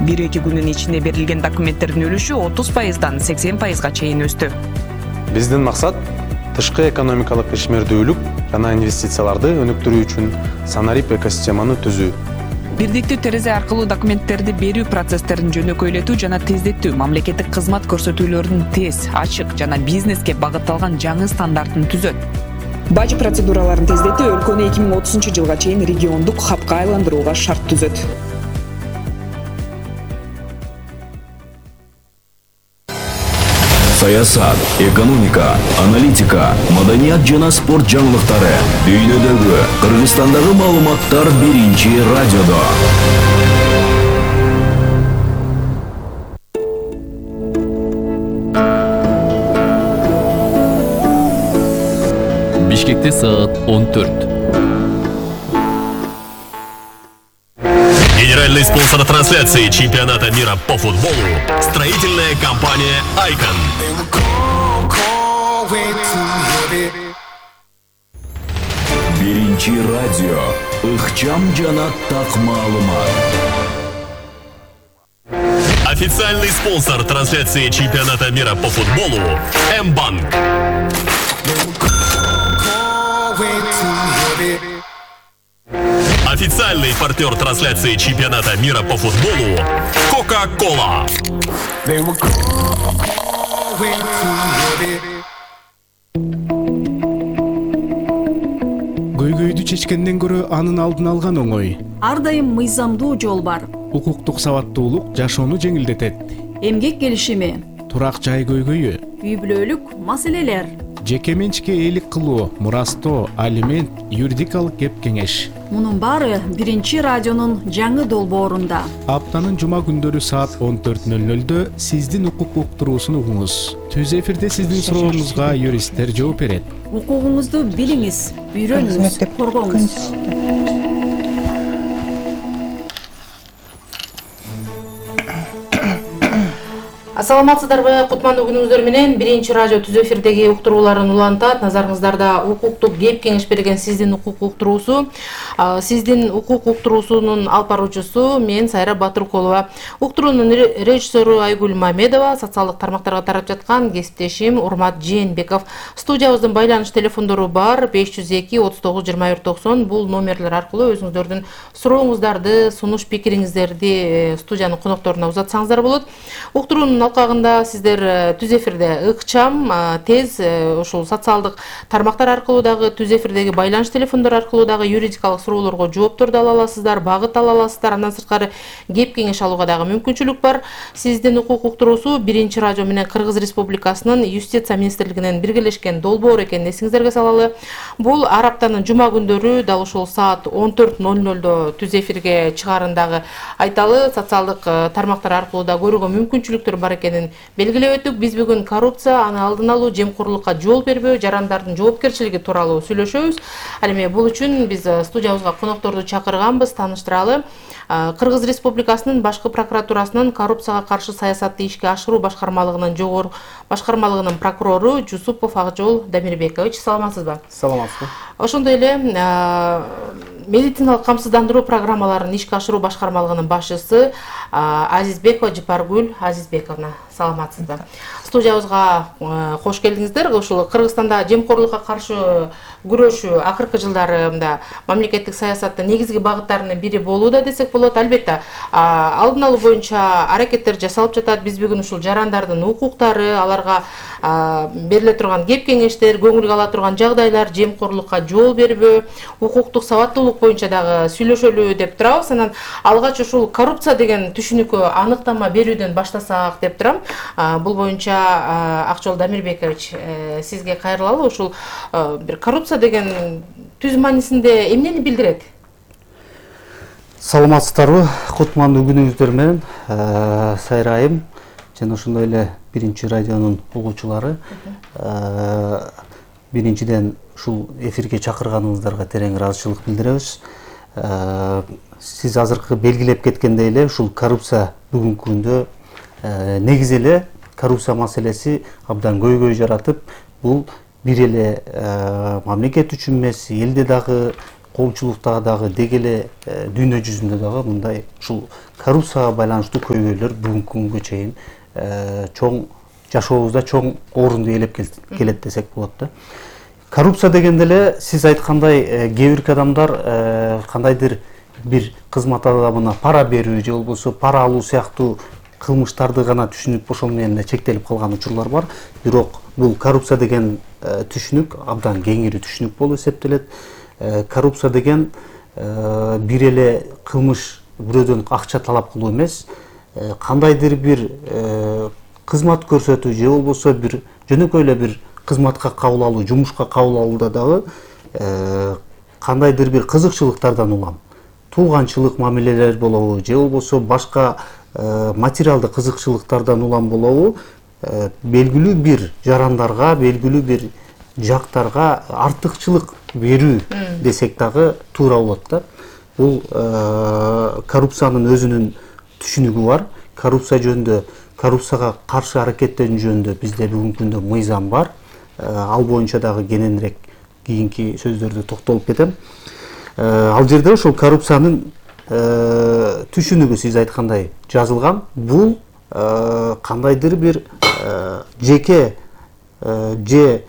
1-2 күнүн ичинде берилген документтердин үлүшү 30%дан 80%га чейин өстү. Биздин максат тышкы экономикалык ишмердүүлүк жана инвестицияларды өнүктүрүү үчүн санарип экосистеманы түзүү. Бирдиктүү терезе аркылуу документтерди берүү процесстерин жөнөкөйлөтүү жана тездетүү мамлекеттик кызмат көрсөтүүлөрүнүн тез, ачык жана бизнеске багытталган жаңы стандартын түзөт. Баж процедураларын тездетүү өлкөнү 2030-жылга чейин региондук хабка айландырууга шарт түзөт. Саясат, экономика, аналитика, маданият жана спорт жаңылыктары, дүйнөдөгү, Кыргызстандагы маалыматтар биринчи радиодо. Бишкекте саат 14. Генеральный спонсор трансляции чемпионата мира по футболу – строительная компания «Айкон». Биринчи радио, ыкчам жана так маалымат. Официальный спонсор трансляции чемпионата мира по футболу – М-банк. Официальный партнер трансляции чемпионата мира по футболу – Кока-Кола. Көйгөйдү чечкенден көрө анын алдын алган оңой. Ар дайым мыйзамдуу жол бар. Укуктук сабаттуулук жашоону жеңилдетет. Эмгек келишими, Турак жай көйгөйү, үй бүлөлүк маселелер. жеке менчикке ээлик кылуу, мурастоо, алимент, юридикалык кеп кеңеш. Мунун баары биринчи радионун жаңы долбоорунда. Аптанын жума күндөрү саат 14:00 сиздин укук уктуруусун угуңуз. Түз эфирде сиздин сурооңузга юристтер жооп берет. Укугуңузду билиңиз, үйрөнүңүз, коргоңуз. Ассаламатсыздарбы, кутмандуу күнүңүздөр менен биринчи радио түз эфирдеги уктурууларын улантат. Назарыңыздарда укуктук кеп кеңеш берген сиздин укук уктуруусу. Сиздин укук уктуруусунун алып баруучусу мен Сайра Батыркулова. Уктуруунун режиссеру Айгүл Мамедова, социалдык тармактарга тарап жаткан кесиптешим Урмат Жээнбеков. Студиябыздын байланыш телефондору бар 502 39 21 90. Бул номерлер аркылуу өзүңүздөрдүн сурооңуздарды, сунуш пикириңиздерди студиянын конокторуна узатсаңыздар болот. Уктуруунун алкагында сиздер түз эфирде ыкчам, тез, ушул социалдык тармактар аркылуу дагы түз эфирдеги байланыш телефондор аркылуу дагы юридикалык суроолорго жоопторду ала аласыздар, багыт ала аласыздар. Андан сырткары кеп кеңеш алууга дагы мүмкүнчүлүк бар. Сиздин укук уктуруусу биринчи радио менен Кыргыз Республикасынын Юстиция министрлигинен биргелешкен долбоор экенин эсиңиздерге салалы. Бул ар аптанын жума күндөрү дал ушул саат 14:00 түз эфирге чыгаарындагы айталы, социалдык тармактар аркылуу да көрүүгө мүмкүнчүлүктөр бар экенин белгилеп өттүк. Биз бүгүн коррупция, аны алдын алуу, жемкорлукка жол бербөө, жарандардын жоопкерчилиги тууралуу сүйлөшөбүз. Ал эми бул үчүн биз студиябызга конокторду чакырганбыз, тааныштыралы. Кыргыз Республикасынын башкы прокуратурасынын коррупцияга каршы саясатты ишке ашыруу башкармалыгынын прокурору Жусупов Акжол Дамирбекович. Саламатсызбы? Саламатсызбы. Ошондой эле медициналык камсыздандыруу программаларын ишке ашыруу башкармалыгынын башчысы Азизбекова Жапаргүл Азизбековна. Саламатсызбы? Студиябызга кош келдиңиздер. Ушул Кыргызстанда жемкорлукка каршы күрөшүү акыркы жылдарында мамлекеттик саясаттын негизги багыттарынын бири болууда десек болот. Албетте, алдын алуу боюнча аракеттер жасалып жатат. Биз бүгүн ушул жарандардын укуктары, аларга бериле турган кеп кеңештер, көңүлгө ала турган жагдайлар, жемкорлукка жол бербөө, укуктук сабаттуулук боюнча дагы сүйлөшөлү деп турабыз. Анан алгач ушул коррупция деген түшүнүккө аныктама берүүдөн баштасак деп турам. Бул боюнча Акжол Дамирбекович, сизге кайрылалы. Ушул бир коррупция деген түз маанисинде эмнени билдирет? Саламатсыздарбы, кутмандуу күнүңүздөр менен, Сайрайым жана ошондой эле биринчи радионун угуучулары. Биринчиден ушул эфирге чакырганыңыздарга терең ыраазычылык билдиребиз. Сиз азыркы белгилеп кеткендей эле ушул коррупция бүгүнкү күндө негизи эле коррупция маселеси абдан көйгөй жаратып, бул бир эле мамлекет үчүн эмес, элде дагы коомчулукта дагы деги эле дүйнө жүзүндө дагы мындай ушул коррупцияга байланыштуу көйгөйлөр бүгүнкү күнгө чейин чоң жашообузда чоң орунду ээлеп келет десек болот да. Коррупция дегенде эле сиз айткандай кээ бирки адамдар кандайдыр бир кызмат адамына пара берүү же болбосо пара алуу сыяктуу кылмыштарды гана түшүнүп ошол менен эле чектелип калган учурлар бар. Бирок бул коррупция деген түшүнүк абдан кеңири түшүнүк болуп эсептелет. Коррупция деген бир эле кылмыш, бирөөдөн акча талап кылуу эмес, кандайдыр бир кызмат көрсөтүү же болбосо бир жөнөкөй эле бир кызматка кабыл алуу, жумушка кабыл алууда дагы кандайдыр бир кызыкчылыктардан улам тууганчылык мамилелер болобу же болбосо башка материалдык кызыкчылыктардан улам болобу белгилүү бир жарандарга, белгилүү бир жактарга артыкчылык берүү десек дагы туура болот да. Бул коррупциянын өзүнүн түшүнүгү бар. Коррупция жөнүндө, коррупцияга каршы аракеттенүү жөнүндө бизде бүгүнкү күндө мыйзам бар. Ал боюнча дагы кененирээк кийинки сөздөрдө токтолуп кетем. Ал жерде ошол коррупциянын түшүнүгү сиз айткандай жазылган. Бул кандайдыр бир жеке же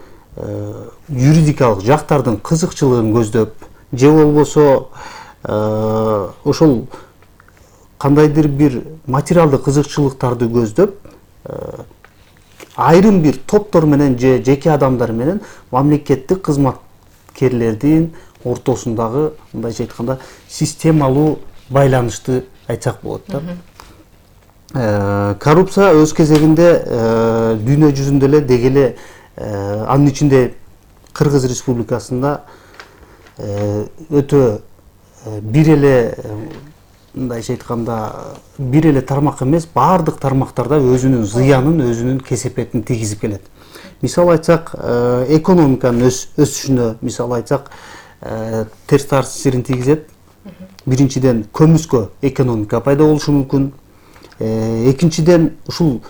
юридикалык жактардын кызыкчылыгын көздөп же болбосо ошол кандайдыр бир материалдык кызыкчылыктарды көздөп айрым бир топтор менен же жеке адамдар менен мамлекеттик кызматкерлердин ортосундагы мындайча айтканда системалуу байланышты айтсак болот да. Коррупция өз кезегинде дүйнө жүзүндө эле деги эле анын ичинде Кыргыз Республикасында өтө бир эле мындайча айтканда бир эле тармак эмес, баардык тармактарда өзүнүн зыянын, өзүнүн кесепетин тийгизип келет. Мисал айтсак, экономиканын өсүшүнө мисал айтсак, терс таасирин тийгизет. Биринчиден көмүскө экономика пайда болушу мүмкүн. Экинчиден ушул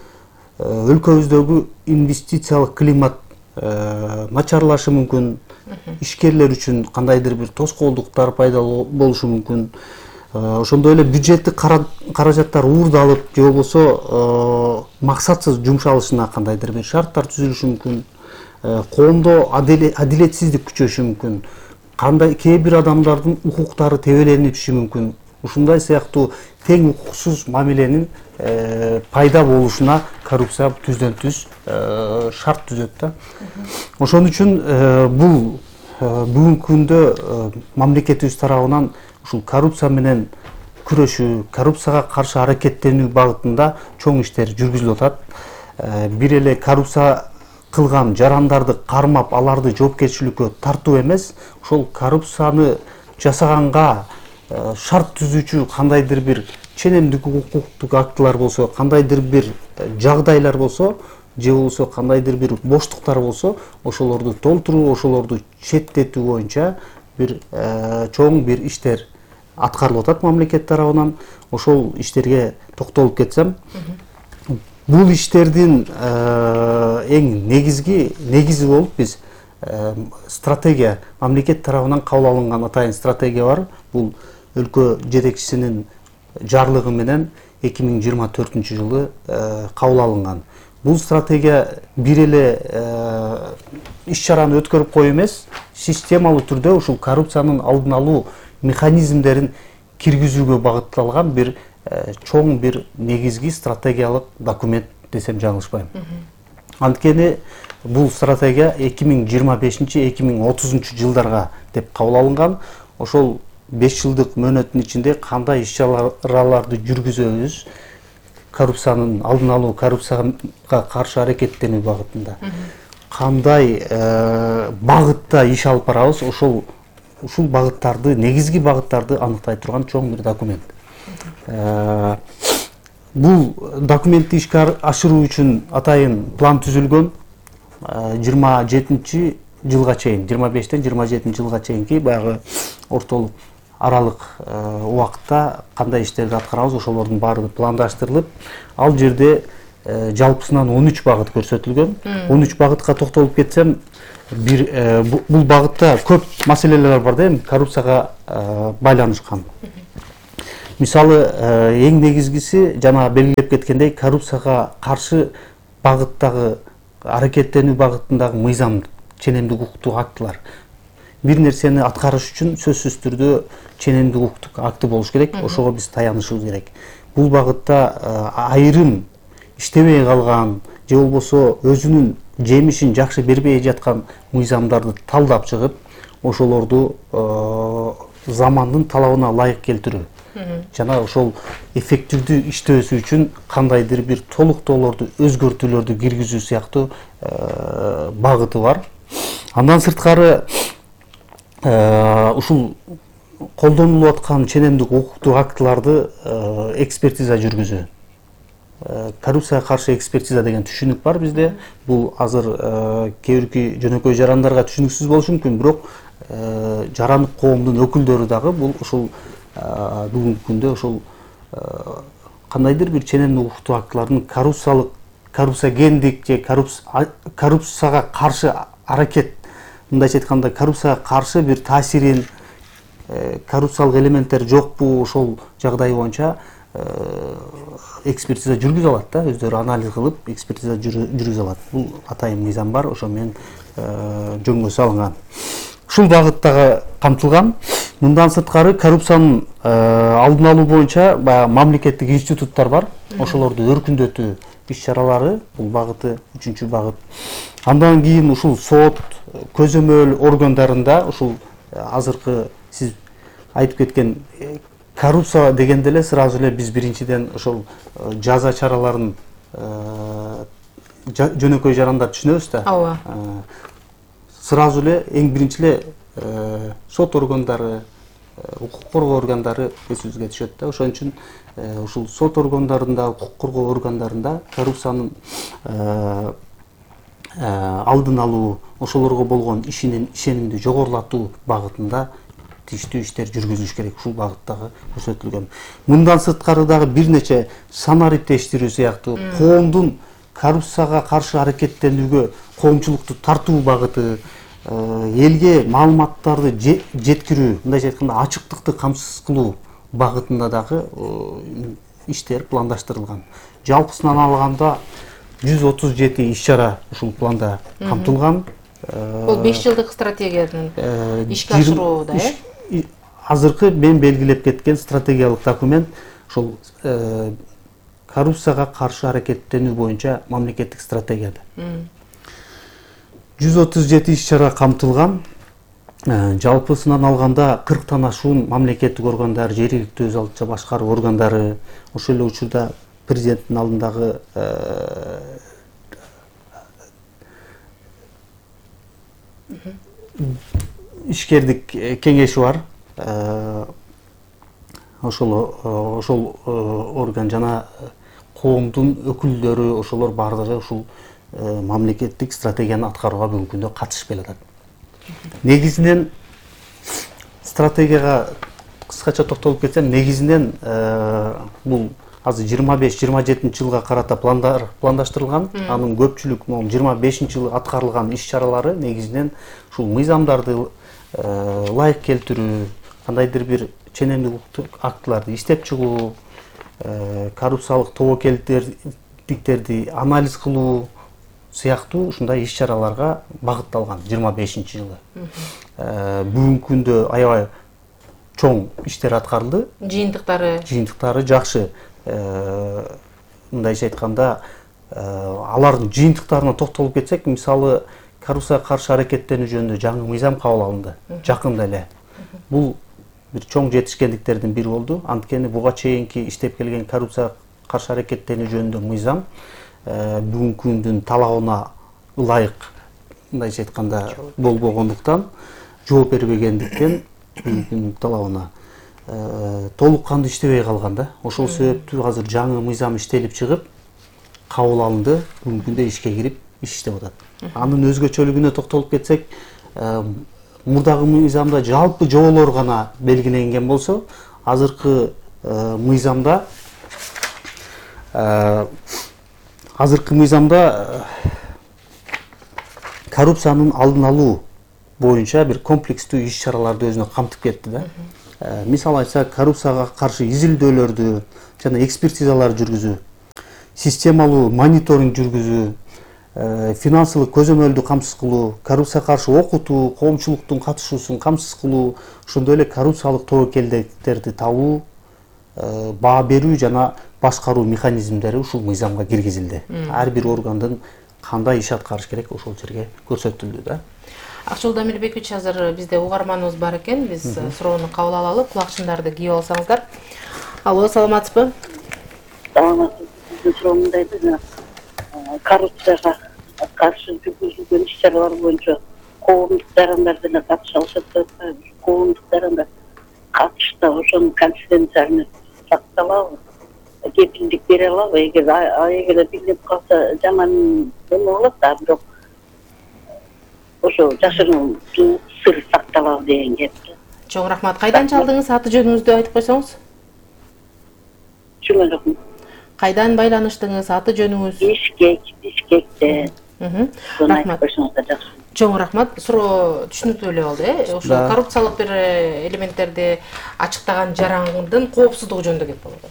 өлкөбүздөгү инвестициялык климат начарлашы мүмкүн. Ишкерлер үчүн кандайдыр бир тоскоолдуктар пайда болушу мүмкүн. Ошондой эле бюджеттик каражаттар уурдалып же болбосо максатсыз жумшалышына кандайдыр бир шарттар түзүлүшү мүмкүн. Коомдо адилетсиздик күчөшү мүмкүн. Кандай кээ бир адамдардын укуктары тебелениши мүмкүн. Ушундай сыяктуу тең укуксуз мамиленин пайда болушуна коррупция түздөн түз шарт түзөт да. Ошон үчүн бул бүгүнкү күндө мамлекетибиз тарабынан ушул коррупция менен күрөшүү, коррупцияга каршы аракеттенүү багытында чоң иштер жүргүзүлүп атат. Бир эле коррупция кылган жарандарды кармап, аларды жоопкерчиликкө тартуу эмес, ошол коррупцияны жасаганга шарт түзүүчү кандайдыр бир ченемдик укуктук актылар болсо, кандайдыр бир жагдайлар болсо, же болбосо кандайдыр бир боштуктар болсо, ошолорду толтуруу, ошолорду четтетүү боюнча бир чоң бир иштер аткарылып атат мамлекет тарабынан. Ошол иштерге токтолуп кетсем, бул иштердин эң негизи болуп биз стратегия, мамлекет тарабынан кабыл алынган атайын стратегия бар. Бул өлкө жетекчисинин жарлыгы менен 2024-жылы кабыл алынган. Бул стратегия бир эле иш-чараны өткөрүп коюу эмес, системалуу түрдө ушул коррупциянын алдын алуу механизмдерин киргизүүгө багытталган бир чоң бир негизги стратегиялык документ десем жаңылышпайм. Анткени бул стратегия 2025-2030 жылдарга деп кабыл алынган. Ошол 5 жылдык мөөнөттүн ичинде кандай иш-чараларды жүргүзөбүз, коррупциянын алдын алуу, коррупцияга каршы аракеттенүү багытында кандай багытта иш алып барабыз, ушул багыттарды, негизги багыттарды аныктай турган чоң бир документ. Бул документти ишке ашыруу үчүн атайын план түзүлгөн. 27 жылга чейин, 25-тен 27 жылга чейинки баягы ортолук аралык убакытта кандай иштерди аткарабыз, ошолордун баары пландаштырылып, ал жерде жалпысынан 13 багыт көрсөтүлгөн. 13 багытка токтолуп кетсем, бул багытта көп маселелер бар да, коррупцияга байланышкан. Мисалы, эң негизгиси жана белгилеп кеткендей, коррупцияга каршы багыттагы аракеттенүү багытындагы мыйзам, ченемдик укуктук актылар. Бир нерсени аткарыш үчүн сөзсүз түрдө ченемдик укуктук акты болуш керек, ошого биз таянышыбыз керек. Бул багытта айрым иштебей калган же болбосо өзүнүн жемишин жакшы бербей жаткан мыйзамдарды талдап чыгып, ошолорду замандын талабына ылайык келтирүү жана ошол эффективдүү иштөөсү үчүн кандайдыр бир толуктоолорду, өзгөртүүлөрдү киргизүү сыяктуу багыты бар. Андан сырткары ушул колдонулуп аткан ченемдик укуктук актыларды экспертиза жүргүзүү. Коррупцияга каршы экспертиза деген түшүнүк бар бизде. Бул азыр кээ бирки жөнөкөй жарандарга түшүнүксүз болушу мүмкүн, бирок жарандык коомдун өкүлдөрү дагы бул ушул бүгүнкү күндө ошол кандайдыр бир ченемдик укуктук актылардын коррупциогендик же коррупцияга каршы аракет, мындайча айтканда коррупцияга каршы бир таасирин, коррупциялык элементтер жокпу, ошол жагдай боюнча экспертиза жүргүзө алат да, өздөрү анализ кылып, экспертиза жүргүзө алат. Бул атайын мыйзам бар, ошо менен жөнгө салынган. Ушул багыттагы камтылган. Мындан сырткары коррупциянын алдын алуу боюнча баягы мамлекеттик институттар бар. Ошолорду өркүндөтүү иш-чаралары, бул багыты 3-чү багыт. Андан кийин ушул сот, көзөмөл органдарында ушул азыркы сиз айтып кеткен коррупция дегенде эле сразу эле биз биринчиден ошол жаза чараларын жөнөкөй жарандар түшүнөбүз да. Ооба. Сразу эле эң биринчи эле сот органдары, укук коргоо органдары эсибизге түшөт да. Ошон үчүн ушул сот органдарында, укук коргоо органдарында коррупциянын алдын алуу, ошолорго болгон ишенимди жогорулатуу багытында тийиштүү иштер жүргүзүлүш керек, ушул багыттагы көрсөтүлгөн. Мындан сырткары дагы бир нече санариптештирүү сыяктуу коомдун коррупцияга каршы аракеттенүүгө коомчулукту тартуу багыты, элге маалыматтарды жеткирүү, мындайча айтканда ачыктыкты камсыз кылуу багытында дагы иштер пландаштырылган. Жалпысынан алганда 137 иш-чара ушул планда камтылган. Бул 5 жылдык стратегиянын ишке ашырууда, азыркы мен белгилеп кеткен стратегиялык документ ушул коррупцияга каршы аракеттенүү боюнча мамлекеттик стратегияда. 137 иш-чара камтылган. Жалпысынан алганда 40 ашуун мамлекеттик органдар, жергиликтүү өз алдынча башкаруу органдары, ошол эле учурда президенттин алдындагы ишкердик кеңеши бар. Ошол орган жана коомдун өкүлдөрү, ошолор бардыгы ушул мамлекеттик стратегияны аткарууга бүгүнкү күндө катышып келатат. Негизинен стратегияга кыскача токтолуп кетсем, негизинен бул азыр 25-27 жылга карата пландаштырылган. Анын көпчүлүк 25 жылы аткарылган иш-чаралары негизинен ушул мыйзамдарды ылайык келтирүү, кандайдыр бир ченемдик укуктук актыларды иштеп чыгуу, коррупциялык тобокелдиктерди анализ кылуу сыяктуу ушундай иш-чараларга багытталган 25-жылы. Бүгүнкү күндө аябай чоң иштер аткарылды. Жыйынтыктары жакшы. Мындайча айтканда, алардын жыйынтыктарына токтолуп кетсек, мисалы, коррупцияга каршы аракеттенүү жөнүндө жаңы мыйзам кабыл алынды, жакында эле. Бул бир чоң жетишкендиктердин бири болду. Анткени буга чейинки иштеп келген коррупцияга каршы аракеттенүү жөнүндө мыйзам бүгүнкү күндүн талабына ылайык, мындайча айтканда, болбогондуктан, жооп бербегендиктен бүгүнкү күндүн талабына толук кандуу иштебей калган да. Ошол себептүү азыр жаңы мыйзам иштелип чыгып, кабыл алынды, бүгүнкү күндө ишке кирип, иш иштеп атат. Анын өзгөчөлүгүнө токтолуп кетсек, мурдагы мыйзамда жалпы жоболор гана белгиленген болсо, азыркы мыйзамда азыркы мыйзамда коррупциянын алдын алуу боюнча бир комплекстүү иш чараларды өзүнө камтып кетти да. Мисалы айтсак, коррупцияга каршы изилдөөлөрдү жана экспертизалар жүргүзүү, системалуу мониторинг жүргүзүү, финансылык көзөмөлдү камсыз кылуу, коррупцияга каршы окутуу, коомчулуктун катышуусун камсыз кылуу, ошондой эле коррупциялык тобокелдиктерди табуу, баа берүү жана башкаруу механизмдери ушул мыйзамга киргизилди. Ар бир органдын кандай иш аткарыш керек ошол жерге көрсөтүлдү да. Акчыл Дамирбекович, азыр бизде угарманыбыз бар экен. Биз суроону кабыл алалы. Кулакчындарды кийип алсаңыздар. Алло, саламатсызбы? Саламатсыз. Биздин суроо мындай да, коррупцияга каршы жүргүзүлгөн иш чаралар боюнча коомдук жарандар деле катыша алышат деп атпайбы? Коомдук жарандар катышта ошонун конфиденциальность сакталабы? Кепилдик бере алабы? Эгер билинип калса жаман эме болот да, бирок ошо жашыруун сыр сакталабы деген кеп. Чоң рахмат. Кайдан чалдыңыз? Аты жөнүңүздү айтып койсоңуз? Чоң рахмат. Кайдан байланыштыңыз? Аты жөнүңүз? Бишкекте. Рахмат. Чоң рахмат. Суроо түшүнүктүү эле болду, Ошо коррупциялык бир элементтерди ачыктаган жарандын коопсуздугу жөнүндө кеп болот.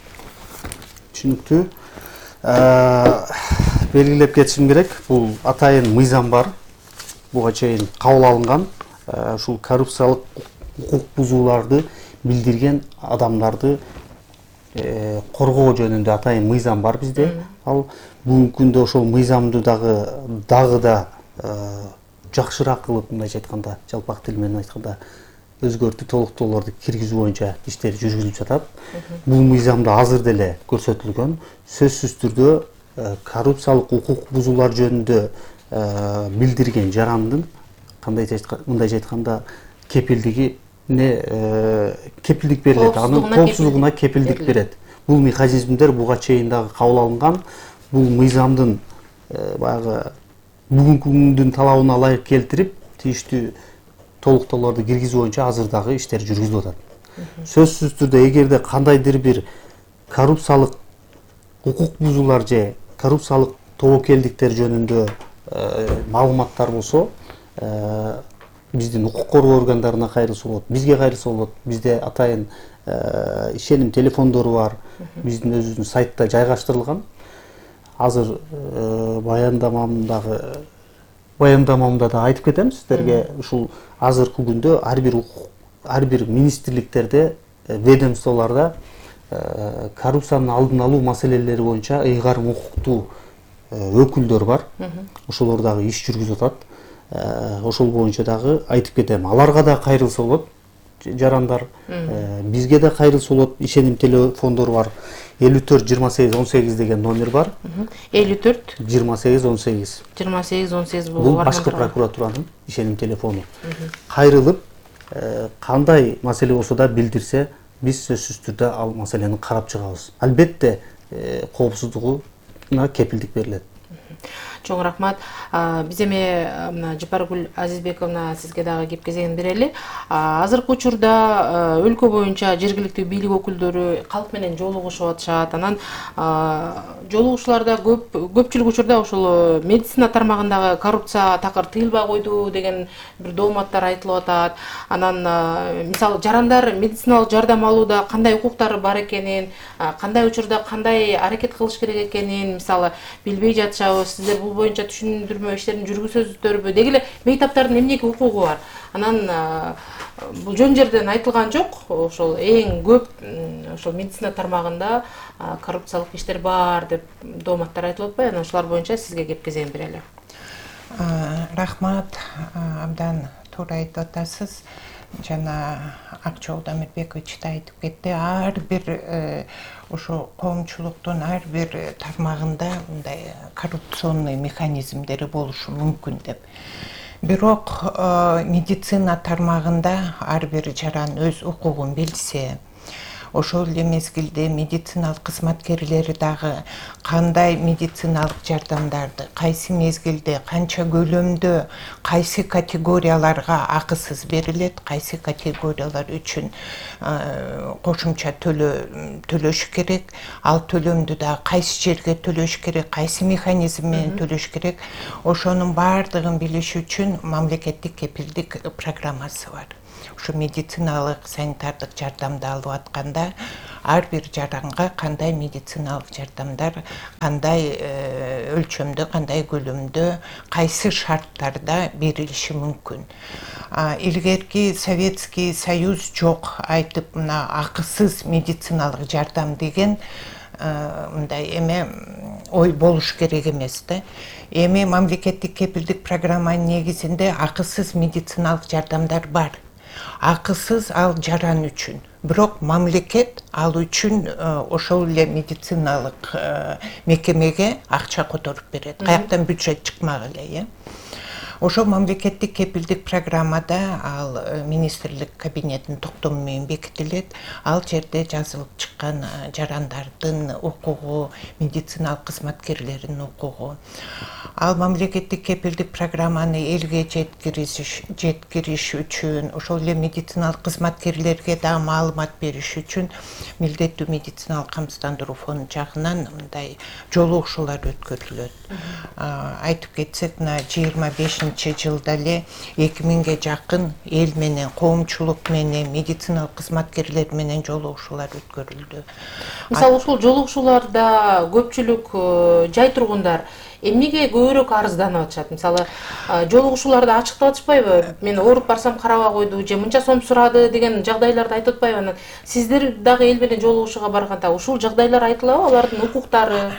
Түшүнүктүү. Белгилеп кетишим керек, бул атайын мыйзам бар. Буга чейин кабыл алынган, ушул коррупциялык укук бузууларды билдирген адамдарды коргоо жөнүндө атайын мыйзам бар бизде. Ал бүгүнкү күндө ошол мыйзамды дагы да жакшыраак кылып, мындайча айтканда, жалпак тил менен айтканда, өзгөртүү толуктоолорду киргизүү боюнча иштер жүргүзүлүп жатат. Бул мыйзамда азыр деле көрсөтүлгөн, сөзсүз түрдө коррупциялык укук бузуулар жөнүндө билдирген жарандын мындайча айтканда кепилдик берилет, анын коопсуздугуна кепилдик берет. Бул механизмдер буга чейин дагы кабыл алынган. Бул мыйзамдын баягы бүгүнкү күндүн талабына ылайык келтирип, тийиштүү толуктоолорду киргизүү боюнча азыр дагы иштер жүргүзүлүп атат. Сөзсүз түрдө эгерде кандайдыр бир коррупциялык укук бузуулар же коррупциялык тобокелдиктер жөнүндө маалыматтар болсо, биздин укук коргоо органдарына кайрылса болот, бизге кайрылса болот. Бизде атайын ишеним телефондору бар, биздин өзүбүздүн сайтта жайгаштырылган. Азыр баяндамамда да айтып кетем сиздерге, ушул азыркы күндө ар бир министрликтерде, ведомстволордо коррупциянын алдын алуу маселелери боюнча ыйгарым укуктуу өкүлдөр бар. Ошолор дагы иш жүргүзүп атат. Ошол боюнча дагы айтып кетем. Аларга да кайрылса болот жарандар, бизге да кайрылса болот. Ишеним телефондору бар. 54-28-18 деген номер бар. 54-28-18. 28-18 бул башкы прокуратуранын ишеним телефону. Кайрылып, кандай маселе болсо да билдирсе, биз сөзсүз түрдө ал маселени карап чыгабыз. Албетте коопсуздугуна кепилдик берилет. Чоң рахмат. Биз эми Жапаргүл Азизбековна сизге дагы кеп кезегин берели. Азыркы учурда өлкө боюнча жергиликтүү бийлик өкүлдөрү калк менен жолугушуп атышат. Анан жолугушууларда көпчүлүк учурда ошол медицина тармагындагы коррупция такыр тыйылбай койду деген бир дооматтар айтылып атат. Анан мисалы жарандар медициналык жардам алууда кандай укуктары бар экенин, кандай учурда кандай аракет кылыш керек экенин мисалы билбей жатышабыз. Сиздер бул боюнча түшүндүрмө иштерин жүргүзөсүздөрбү? Деги эле мейтаптардын эмнеге укугу бар? Анан бул жөн жерден айтылган жок. Ошол эң көп ошол медицина тармагында коррупциялык иштер бар деп дооматтар айтылып атпайбы? Анан ошолар боюнча сизге кеп кезегин берели. Рахмат, абдан туура айтып атасыз. Жана Акчол Дамирбекович да айтып кетти. Ар бир ошо коомчулуктун ар бир тармагында мындай коррупционный механизмдери болушу мүмкүн деп. Бирок медицина тармагында ар бир жаран өз укугун билсе, ошол эле мезгилде медициналык кызматкерлери дагы кандай медициналык жардамдарды кайсы мезгилде канча көлөмдө кайсы категорияларга акысыз берилет, кайсы категориялар үчүн кошумча төлөш керек, ал төлөмдү да кайсы жерге төлөш керек, кайсы механизм менен төлөш керек, ошонун баардыгын билиш үчүн мамлекеттик кепилдик программасы бар. Ушу медициналык санитардык жардамды алып атканда ар бир жаранга кандай медициналык жардамдар кандай өлчөмдө, кандай көлөмдө, кайсы шарттарда берилиши мүмкүн. Илгерки Советский Союз жок айтып мына акысыз медициналык жардам деген мындай эме ой болуш керек эмес да. Эми мамлекеттик кепилдик программанын негизинде акысыз медициналык жардамдар бар. Акысыз ал жаран үчүн. Бирок мамлекет ал үчүн ошол эле медициналык мекемеге акча которуп берет. Каяктан бюджет чыкмак эле, Ошол мамлекеттик кепилдик программада ал министрлик кабинетинин токтому менен бекитилет. Ал жерде жазылып чыккан жарандардын укугу, медициналык кызматкерлердин укугу. Ал мамлекеттик кепилдик программаны элге жеткириш үчүн, ошол эле медициналык кызматкерлерге да маалымат бериш үчүн милдеттүү медициналык камсыздандыруу фонду жагынан мындай жолугушуулар өткөрүлөт. Айтып кетсек, 25-жылда эле 2000ге жакын эл менен, коомчулук менен, медициналык кызматкерлер менен жолугушуулар өткөрүлдү. Мисалы ушул жолугушууларда көпчүлүк жай тургундар эмнеге көбүрөөк арызданып атышат? Мисалы, жолугушууларда ачыктап атышпайбы? Мен ооруп барсам карабай койду, же мынча сом сурады деген жагдайларды айтып атпайбы? Сиздер дагы эл менен жолугушууга барганда ушул жагдайлар айтылабы, алардын укуктары?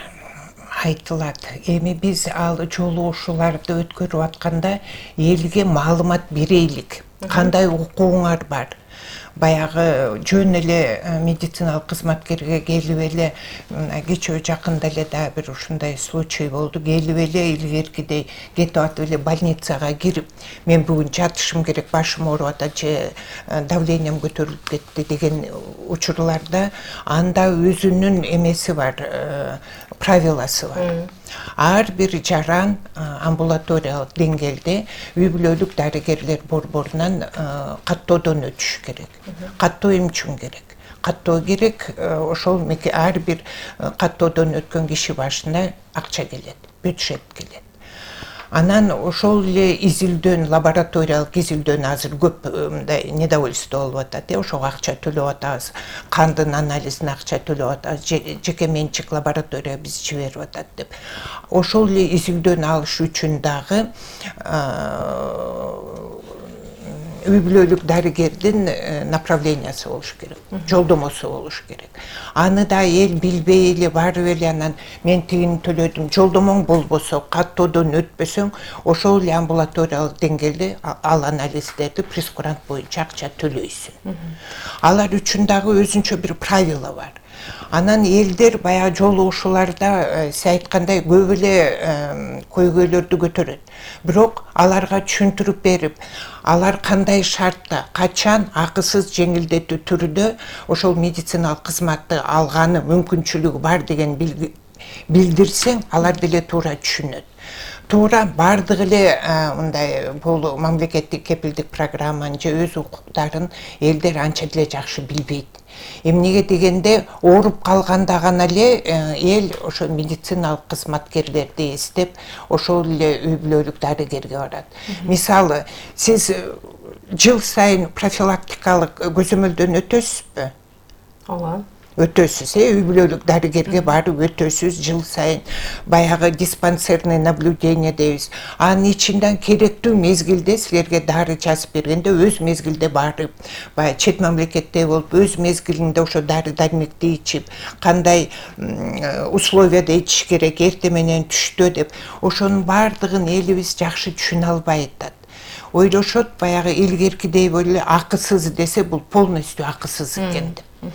Айтылат. Эми биз ал жолугушууларды өткөрүп атканда элге маалымат берейлик. Кандай укугуңар бар? Баягы жөн эле медициналык кызматкерге келип эле кечээ жакында эле да бир ушундай случай болду. Келип эле илгеркидей кетип атып эле больницага кирип, мен бүгүн жатышым керек, башым ооруп атат, же давлением көтөрүлүп кетти деген учурларда анда өзүнүн эмеси бар, правиласы бар. Ар бир жаран амбулаториялык деңгээлде үй бүлөлүк дарыгерлер борборунан каттоодон өтүш керек. Каттоо эмне үчүн керек? Каттоо керек, ошол ар бир каттоодон өткөн киши башына акча келет, бюджет келет. Анан ошол эле изилдөөн, лабораториялык изилдөөн азыр көп мындай недовольство болуп атат. Ошого акча төлөп атабыз, кандын анализине акча төлөп атабыз, жеке менчик лаборатория биз жиберип атат деп. Ошол эле изилдөөнү алыш үчүн дагы үй бүлөлүк дарыгердин направлениясы болуш керек, жолдомосу болуш керек. Аны да эл билбей эле барып эле анан мен тигини төлөдүм, жолдомоң болбосо, каттоодон өтпөсөң, ошол эле амбулаториялык деңгээлде ал анализдерди прескурант боюнча акча төлөйсүң. Алар үчүн дагы өзүнчө бир правила бар. Анан элдер баягы жолугушууларда сиз айткандай көп эле көйгөйлөрдү көтөрөт. Бирок аларга түшүндүрүп берип, алар кандай шартта, качан акысыз жеңилдетүү түрүдө ошол медициналык кызматты алганы мүмкүнчүлүгү бар деген билдирсең, алар деле туура түшүнөт. Туура бардыгы эле мындай бул мамлекеттик кепилдик программанын же өз укуктарын элдер анча деле жакшы билбейт. Эмнеге дегенде ооруп калганда гана эле эл ошо медициналык кызматкерлерди эстеп, ошол эле үй бүлөлүк дарыгерге барат. Мисалы, сиз жыл сайын профилактикалык көзөмөлдөн өтөсүзбү? Ооба. Өтөсүз, үй бүлөлүк дарыгерге барып өтөсүз, жыл сайын баягы диспансерный наблюдение дейбиз. Анын ичинде керектүү мезгилде силерге дары жазып бергенде өз мезгилде барып, баягы чет мамлекетте болуп, өз мезгилинде ошо дары дармекти ичип, кандай условияда ичиш керек, эртең менен түштө деп, ошонун бардыгын элибиз жакшы түшүнө албай атат. Ойлошот, баягы илгеркидей эле акысыз десе, бул полностью акысыз экен деп.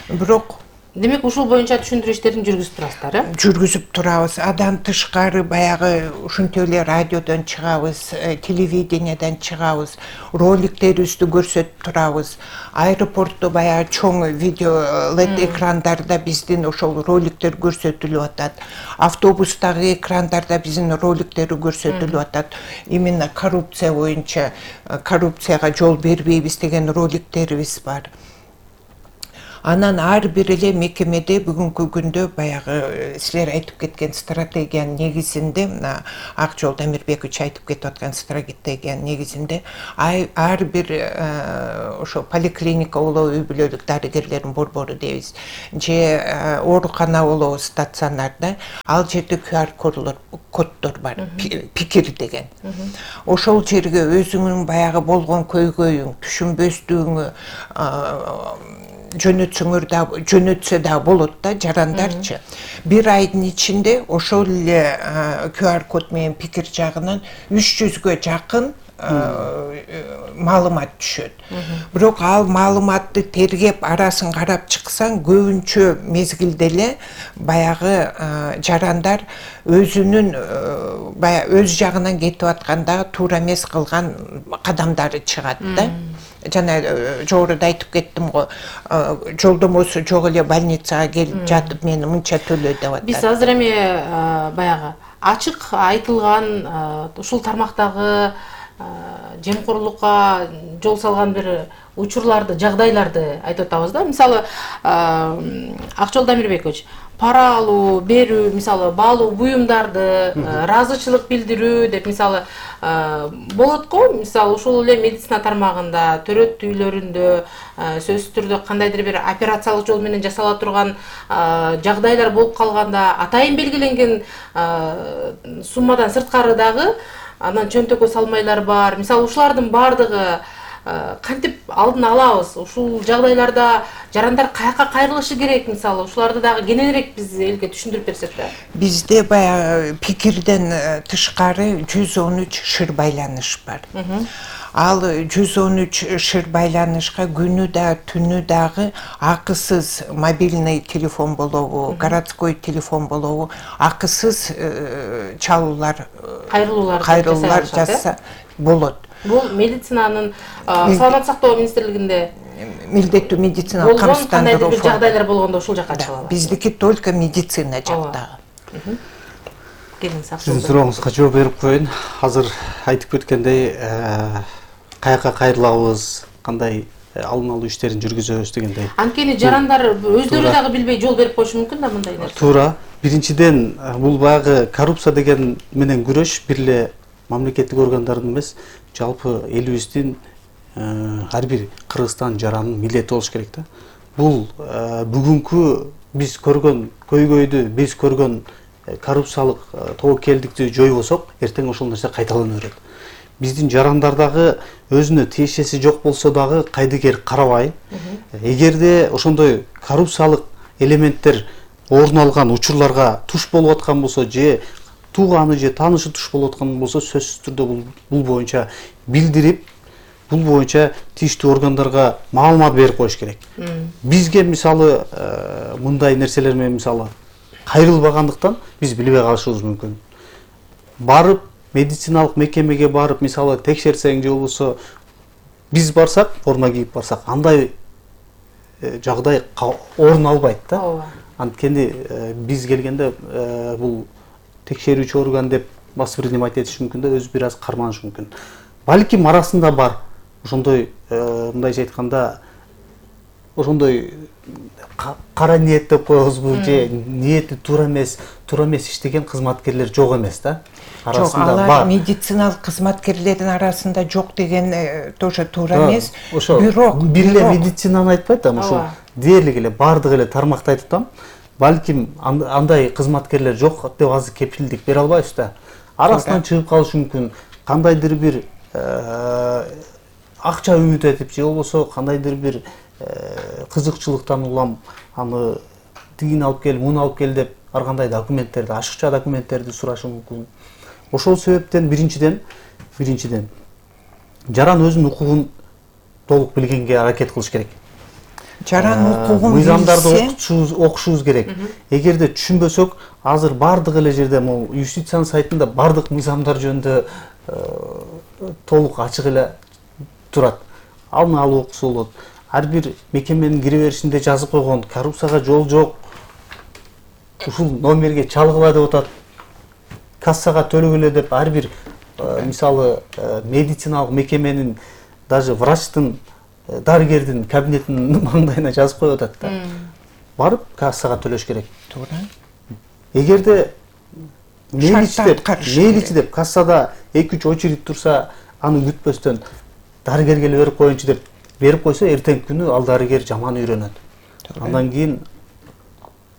Бирок Демек ушул боюнча түшүндүрүү иштерин жүргүзүп турасыздар, э? Жүргүзүп турабыз. Адан тышкары баягы ушинтип эле радиодон чыгабыз, телевидениеден чыгабыз, роликтерибизди көрсөтүп турабыз. Аэропортто баягы чоң видео LED экрандарда биздин ошол роликтер көрсөтүлүп атат. Автобустагы экрандарда биздин роликтери көрсөтүлүп атат. Именно коррупция боюнча, коррупцияга жол бербейбиз деген роликтерибиз бар. Анан ар бир эле мекемеде бүгүнкү күндө баягы силер айтып кеткен стратегиянын негизинде, мына Акжол Дамирбекович айтып кетип аткан стратегиянын негизинде ар бир ошо поликлиника болобу, үй бүлөлүк дарыгерлердин борбору дейбиз, же оорукана болобу, стационарда, ал жерде QR коддор бар, пикир деген. Ошол жерге өзүңүн баягы болгон көйгөйүң, түшүнбөстүгүңү жөнөтсө да болот да, жарандарчы. Бир айдын ичинде ошол эле QR код менен пикир жагынан 300гө жакын маалымат түшөт. Бирок ал маалыматты тергеп арасын карап чыксаң, көбүнчө мезгилде эле баягы жарандар өзүнүн өз жагынан кетип атканда туура эмес кылган кадамдары чыгат да. Жана жогоруда айтып кеттим го, жолдомосу жок эле больницага келип жатып мени мынча төлө деп атат. Биз азыр эми баягы ачык айтылган ушул тармактагы жемкорлукка жол салган бир учурларды, жагдайларды айтып атабыз да. Мисалы, Акжол Дамирбекович, пара алуу, берүү, мисалы, баалуу буюмдарды, ыраазычылык билдирүү деп, мисалы, болот го. Мисалы, ушул эле медицина тармагында, төрөт үйлөрүндө, сөзсүз түрдө кандайдыр бир операциялык жол менен жасала турган жагдайлар болуп калганда, атайын белгиленген суммадан сырткары дагы анан чөнтөккө салмайлар бар. Мисалы, ушулардын баардыгы кантип алдын алабыз? Ушул жагдайларда жарандар каяка кайрылышы керек? Мисалы, ушуларды дагы кененирээк биз элге түшүндүрүп берсек да. Бизде баягы пикирден тышкары 113 шыр байланыш бар. Ал 113 шыр байланышка күнү да түнү дагы акысыз мобильный телефон болобу, городской телефон болобу, акысыз чалуулар, кайрылуулар жасса болот. Бул медицинанын саламаттык сактоо министрлигинде милдеттүү медициналык камсыздандыруу кандайдыр жагдайлар болгондо ушул жакка чыгабыз. Биздики только медицина жактагы. Сиздин сурооңузга жооп берип коеюн. Азыр айтып кеткендей, каяка кайрылабыз, кандай алдын алуу иштерин жүргүзөбүз дегендей. Анткени жарандар өздөрү дагы билбей жол берип коюшу мүмкүн да мындай нерсе. Туура. Биринчиден, бул баягы коррупция деген менен күрөш бир эле мамлекеттик органдардын эмес, жалпы элибиздин ар бир Кыргызстан жаранынын милдети болуш керек да. Бул бүгүнкү биз көргөн көйгөйдү, биз көргөн коррупциялык тобокелдикти жойбосок, эртең ошол нерсе кайталана берет. Биздин жарандардагы өзүнө тиешеси жок болсо дагы кайдыгер карабай, эгерде ошондой коррупциялык элементтер орун алган учурларга туш болуп аткан болсо, же тууганы же таанышы туш болуп аткан болсо, сөзсүз түрдө бул боюнча билдирип, бул боюнча тийиштүү органдарга маалымат берип коюш керек. Бизге мисалы мындай нерселер менен мисалы кайрылбагандыктан биз билбей калышыбыз мүмкүн. Барып медициналык мекемеге барып, мисалы текшерсең же болбосо биз барсак, форма кийип барсак, андай жагдай орун албайт да. Анткени биз келгенде бул текшерүүчү орган деп воспринимать этиш мүмкүн да, өзү бир аз карманыш мүмкүн. Балким арасында бар ошондой, мындайча айтканда, ошондой кара ниет деп коебузбу, же ниети туура эмес иштеген кызматкерлер жок эмес да. Жок, алар медициналык кызматкерлердин арасында жок деген тоже туура эмес. Бирок бир эле медицинаны айтпайт да, ошол дээрлик эле баардык эле тармакты айтып атам. Балким андай кызматкерлер жок деп азыр кепилдик бере албайбыз да. Арасынан чыгып калышы мүмкүн. Кандайдыр бир акча үмүт этип, же болбосо кандайдыр бир кызыкчылыктан улам аны тигин алып кел, муну алып кел деп ар кандай документтерди, ашыкча документтерди сурашы мүмкүн. Ошол себептен биринчиден жаран өзүнүн укугун толук билгенге аракет кылыш керек. жаран укугун мыйзамдарды окушубуз керек. Эгерде түшүнбөсөк, азыр бардык эле жерде могу юстициянын сайтында бардык мыйзамдар жөнүндө толук ачык эле турат. Алдын алуу окуса болот. Ар бир мекеменин кире беришинде жазып койгон коррупцияга жол жок. Ушул номерге чалгыла деп атат. Кассага төлөгүлө деп ар бир мисалы медициналык мекеменин даже врачтын, дарыгердин кабинетинин маңдайына жазып коюп атат да. Барып кассага төлөш керек. Туура. Эгерде мейличи деп кассада 2-3 очередь турса, аны күтпөстөн дарыгерге эле берип коеюнчу деп берип койсо, эртеңки күнү ал дарыгер жаман үйрөнөт. Андан кийин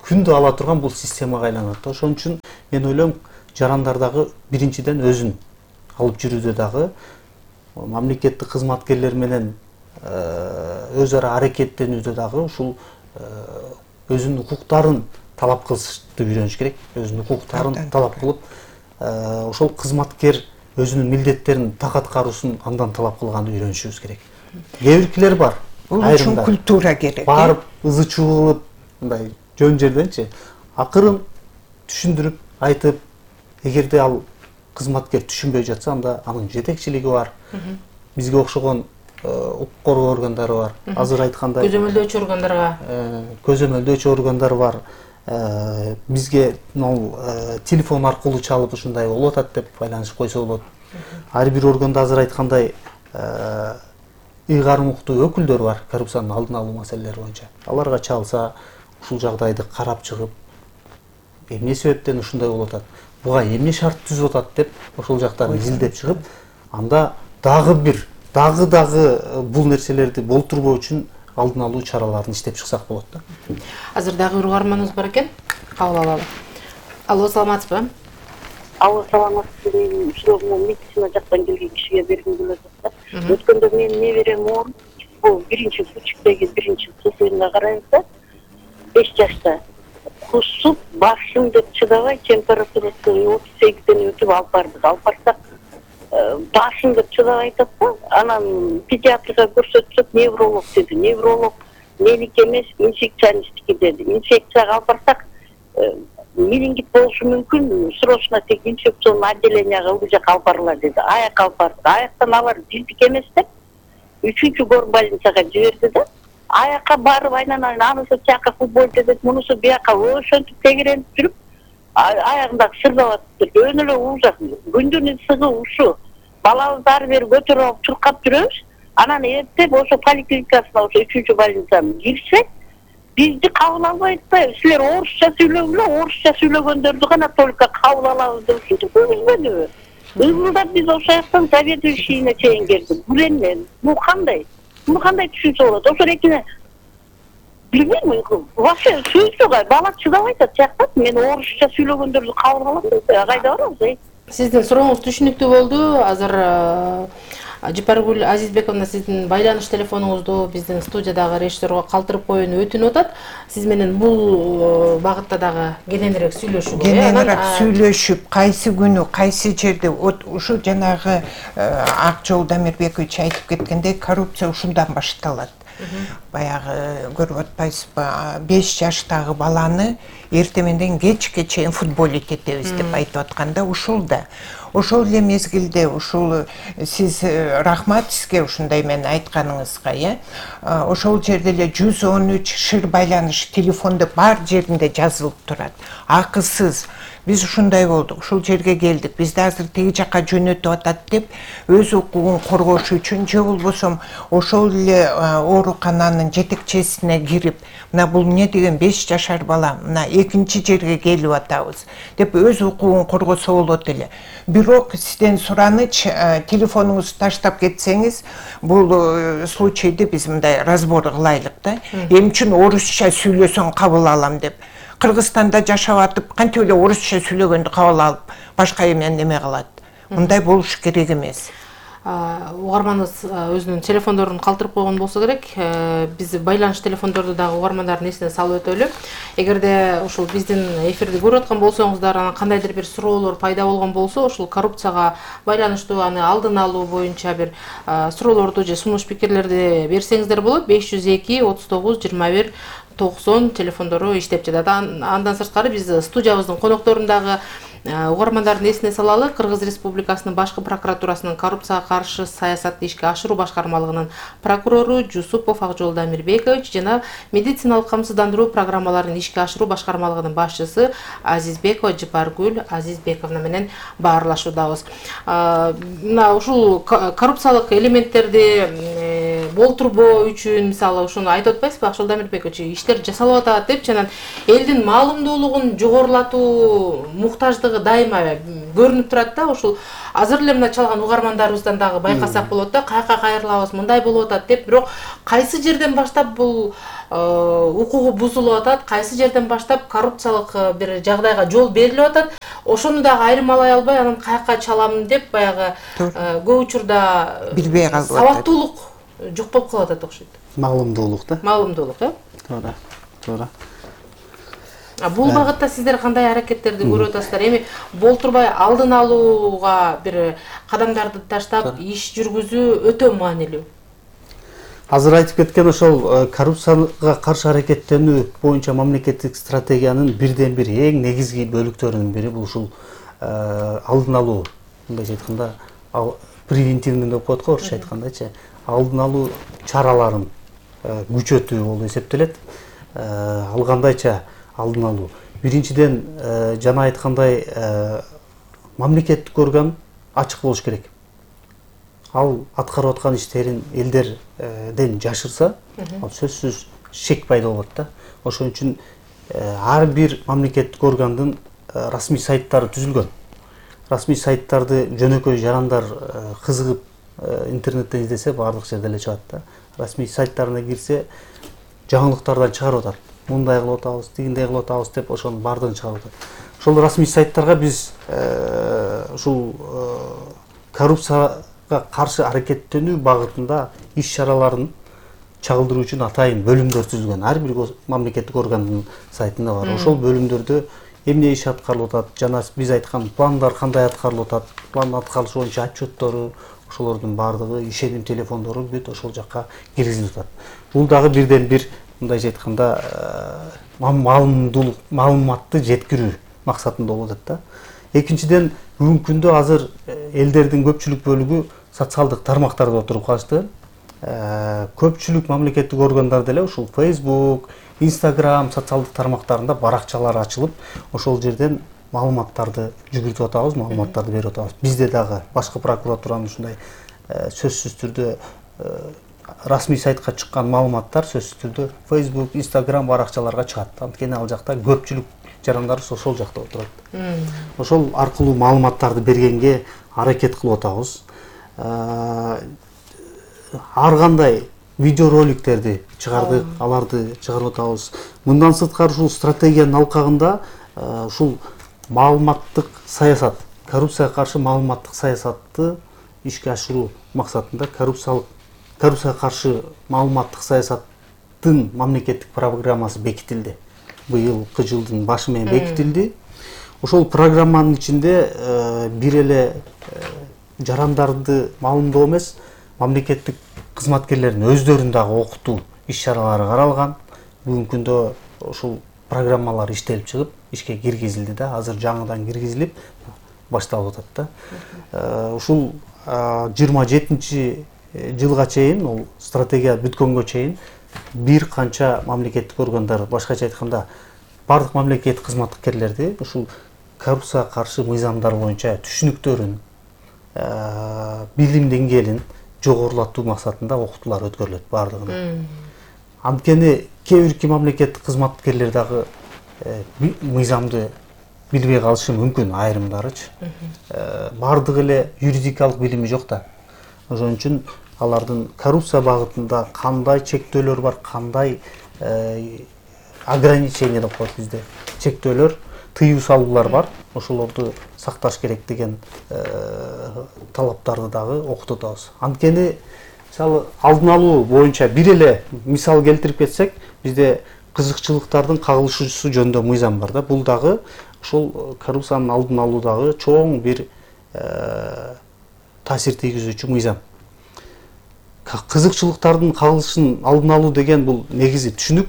күндү ала турган бул системага айланат. Ошон үчүн мен ойлойм, жарандар дагы биринчиден өзүн алып жүрүүдө дагы мамлекеттик кызматкерлер менен өз ара аракеттенүүдө дагы ушул өзүнүн укуктарын талап кылышты үйрөнүш керек. Өзүнүн укуктарын талап кылып, ошол кызматкер өзүнүн милдеттерин так аткаруусун андан талап кылганды үйрөнүшүбүз керек. Кээ биркилер бар. Бул үчүн культура керек. Барып ызы чуу кылып, мындай жөн жерденчи акырын түшүндүрүп айтып, эгерде ал кызматкер түшүнбөй жатса, анда анын жетекчилиги бар. Бизге окшогон укук коргоо органдары бар. Азыр айткандай көзөмөлдөөчү органдарга көзөмөлдөөчү органдар бар. Бизге телефон аркылуу чалып ушундай болуп атат деп байланышып койсо болот. Ар бир органда азыр айткандай ыйгарым уктуу өкүлдөр бар, коррупциянын алдын алуу маселелери боюнча. Аларга чалса, ушул жагдайды карап чыгып, эмне себептен ушундай болуп атат, буга эмне шарт түзүп атат деп ошол жактарын изилдеп чыгып, анда дагы бул нерселерди болтурбоо үчүн алдын алуу чараларын иштеп чыксак болот да. Азыр дагы угарманыбыз бар экен. Кабыл алалы. Алло, саламатсызбы? Алло, саламатсызбы. Менин суроогумду медицина жактан келген кишиге бергим келип атат. Өткөндө менин неберем ооруп, бул биринчи күчүктөгү биринчи цехинде карайбыз, 5 жашта. Кусуп, башым деп чыдабай, температурасы 38ден өтүп алып бардык. Алып барсак, башым деп чыдабай айтат да, анан педиатрга көрсөтсөк, невролог деди. Невролог меники эмес, инфекционисттики деди. Инфекцияга алып барсак, менингит болушу мүмкүн, срочно тек инфекционный отделенияга бул жака алып барылар деди. Аякка алып бардык. Аяктан алар бирдик эмес деп, 3-чү горбольницага жиберди да. Аякка барып, айнан анысы тияка футболчу деп, мунусу бияка ошентип тегеренип жүрүп, аягында сырдап атыптыр. Өн эле ужас. Күндүн ысыгы ушу. Балабызды ары бери көтөрүп алып чуркап жүрөбүз. Анан эртеп ошо поликлиникасына, ошо 3-чү больницага кирсек, бизди кабыл албайт да. Силер орусча сүйлөгүлө, орусча сүйлөгөндөрдү гана только кабыл алабыз деп ушинтип көрүнбөдүбү? Ызылдап биз ошол жактан заведующийне чейин келдик. Бул эмне? Бул кандай? Буну кандай түшүнсө болот? Ошо экине билбейм, вообще сөзсүз бала чыдабай атат жактап. Мен орусча сүйлөгөндөрдү кабыл алам деп, кайда барабыз? Сиздин сурооңуз түшүнүктүү болду. Азыр Жипаргүл Азизбековна сиздин байланыш телефонуңузду биздин студиядагы режиссерго калтырып коюуну өтүнүп атат. Сиз менен бул багытта дагы кененирээк сүйлөшүүгө. Кененирээк сүйлөшүп, кайсы күнү, кайсы жерде ушу жанагы Акжол Дамирбекович айтып кеткендей, коррупция ушундан башталат. Баягы көрүп атпайсызбы, 5 жаштагы баланы эртеменден кечке чейин футболить этебиз деп айтып атканда, ушул да. Ошол эле мезгилде ушул сиз рахмат сизге ушундай мен айтканыңызга, ошол жерде эле 113 шыр байланыш телефон деп бар жеринде жазылып турат. Акысыз. Биз ушундай болдук, ушул жерге келдик. Бизди азыр теги жакка жөнөтүп атат деп, өз укугун коргош үчүн же болбосом ошол эле оорукананын жетекчесине кирип, мына бул эмне деген 5 жашар бала, мына экинчи жерге келип атабыз деп өз укугун коргосо болот эле. Бирок сизден сураныч, телефонуңузду таштап кетсеңиз, бул случайды биз мындай разбор кылайлык да. Эмне үчүн орусча сүйлөсөң кабыл алам деп. Кыргызстанда жашап атып, кантип эле орусча сүйлөгөндү кабыл алып, башка эмен неме кылат. Мындай болуш керек эмес. угарманыбыз өзүнүн телефондорун калтырып койгон болсо керек. Биз байланыш телефондорду дагы угармандардын эсине салып өтөлү. Эгерде ушул биздин эфирди көрүп аткан болсоңуздар, анан кандайдыр бир суроолор пайда болгон болсо, ушул коррупцияга байланыштуу аны алдын алуу боюнча бир суроолорду же сунуш пикирлерди берсеңиздер болот. 502 39 21 90 телефондору иштеп жатат. Андан сырткары биз студиябыздын конокторундагы угармандардын эсине салалы. Кыргыз Республикасынын башкы прокуратурасынын коррупцияга каршы саясатты ишке ашыруу башкармалыгынын прокурору Жусупов Акжол Дамирбекович жана медициналык камсыздандыруу программаларын ишке ашыруу башкармалыгынын башчысы Азизбекова Жыпаргүл Азизбековна менен баарлашуудабыз. Мына ушул коррупциялык элементтерди болтурбоо үчүн, мисалы, ушуну айтып атпайсызбы, Акжол Дамирбекович, иштер жасалып атат депчи, анан элдин маалымдуулугун жогорулатуу муктаждыгы дайыма көрүнүп турат да. Ушул азыр эле мына чалган угармандарыбыздан дагы байкасак болот да, каяка кайрылабыз, мындай болуп атат деп. Бирок кайсы жерден баштап бул укугу бузулуп атат, кайсы жерден баштап коррупциялык бир жагдайга жол берилип атат, ошону дагы айырмалай албай, анан каяка чаламын деп баягы көп учурда билбей калып атат. Сабаттуулук жок болуп калып атат окшойт. Маалымдуулук да. Маалымдуулук, Туура. Туура. Бул багытта сиздер кандай аракеттерди көрүп атасыздар? Эми болтурбай алдын алууга бир кадамдарды таштап иш жүргүзүү өтө маанилүү. Азыр айтып кеткен ошол коррупцияга каршы аракеттенүү боюнча мамлекеттик стратегиянын бирден бир эң негизги бөлүктөрүнүн бири бул ушул алдын алуу. Мындайча айтканда, превентивный деп коет го, орусча айткандачы, алдын алуу чараларын күчөтүү болуп эсептелет. Ал кандайча алдын алуу? Биринчиден, жана айткандай, мамлекеттик орган ачык болуш керек. Ал аткарып аткан иштерин элдерден жашырса, ал сөзсүз шек пайда болот да. Ошон үчүн ар бир мамлекеттик органдын расмий сайттары түзүлгөн. Расмий сайттарды жөнөкөй жарандар кызыгып интернеттен издесе баардык жерде эле чыгат да. Расмий сайттарына кирсе, жаңылыктардан чыгарып атат. Мындай кылып атабыз, тигиндей кылып атабыз деп ошонун баардыгын чыгарып атат. Ошол расмий сайттарга биз ушул коррупцияга каршы аракеттенүү багытында иш чараларын чагылдыруу үчүн атайын бөлүмдөр түзүлгөн. Ар бир мамлекеттик органдын сайтында бар. Ошол бөлүмдөрдө эмне иш аткарылып атат, жана биз айткан пландар кандай аткарылып атат, план аткарылышы боюнча отчеттору, ошолордун баардыгы, ишеним телефондору бүт ошол жакка киргизилип атат. Бул дагы бирден бир, мындайча айтканда, маалыматты жеткирүү максатында болуп атат да. Экинчиден, бүгүнкү күндө азыр элдердин көпчүлүк бөлүгү социалдык тармактарда отуруп калышты. Көпчүлүк мамлекеттик органдар деле ушул Facebook, Instagram социалдык тармактарында баракчалар ачылып, ошол жерден маалыматтарды жүгүртүп атабыз, маалыматтарды берип атабыз. Бизде дагы башкы прокуратуранын ушундай сөзсүз түрдө расмий сайтка чыккан маалыматтар сөзсүз түрдө Facebook, Instagram баракчаларга чыгат. Анткени ал жакта көпчүлүк жарандарыбыз ошол жакта отурат. Ошол аркылуу маалыматтарды бергенге аракет кылып атабыз. Ар кандай видеороликтерди чыгардык, аларды чыгарып атабыз. Мындан сырткары ушул стратегиянын алкагында ушул маалыматтык саясат, коррупцияга каршы маалыматтык саясатты ишке ашыруу максатында коррупцияга каршы маалыматтык саясаттын мамлекеттик программасы бекитилди. Быйылкы жылдын башы менен бекитилди. Ошол программанын ичинде бир эле жарандарды маалымдоо эмес, мамлекеттик кызматкерлердин өздөрүн дагы окутуу иш-чаралары каралган. Бүгүнкү күндө ушул программалар иштелип чыгып, ишке киргизилди да, азыр жаңыдан киргизилип башталып атат да. Ушул 27-жылга чейин, ол стратегия бүткөнгө чейин бир канча мамлекеттик органдар, башкача айтканда, бардык мамлекеттик кызматкерлерди ушул коррупцияга каршы мыйзамдар боюнча түшүнүктөрүн, билим деңгээлин жогорулатуу максатында окутуулар өткөрүлөт баардыгына. Анткени кээ бирки мамлекеттик кызматкерлер дагы мыйзамды билбей калышы мүмкүн, айрымдарычы. Баардыгы эле юридикалык билими жок да. Ошон үчүн алардын коррупция багытында кандай чектөөлөр бар, кандай ограничение деп коет бизде, чектөөлөр, тыюу салуулар бар. Ошолорду сакташ керек деген талаптарды дагы окутуп атабыз. Анткени мисалы алдын алуу боюнча бир эле мисал келтирип кетсек, бизде кызыкчылыктардын кагылышуусу жөнүндө мыйзам бар да. Бул дагы ошол коррупциянын алдын алуудагы чоң бир таасир тийгизүүчү мыйзам. Кызыкчылыктардын кагылышын алдын алуу деген бул негизи түшүнүк.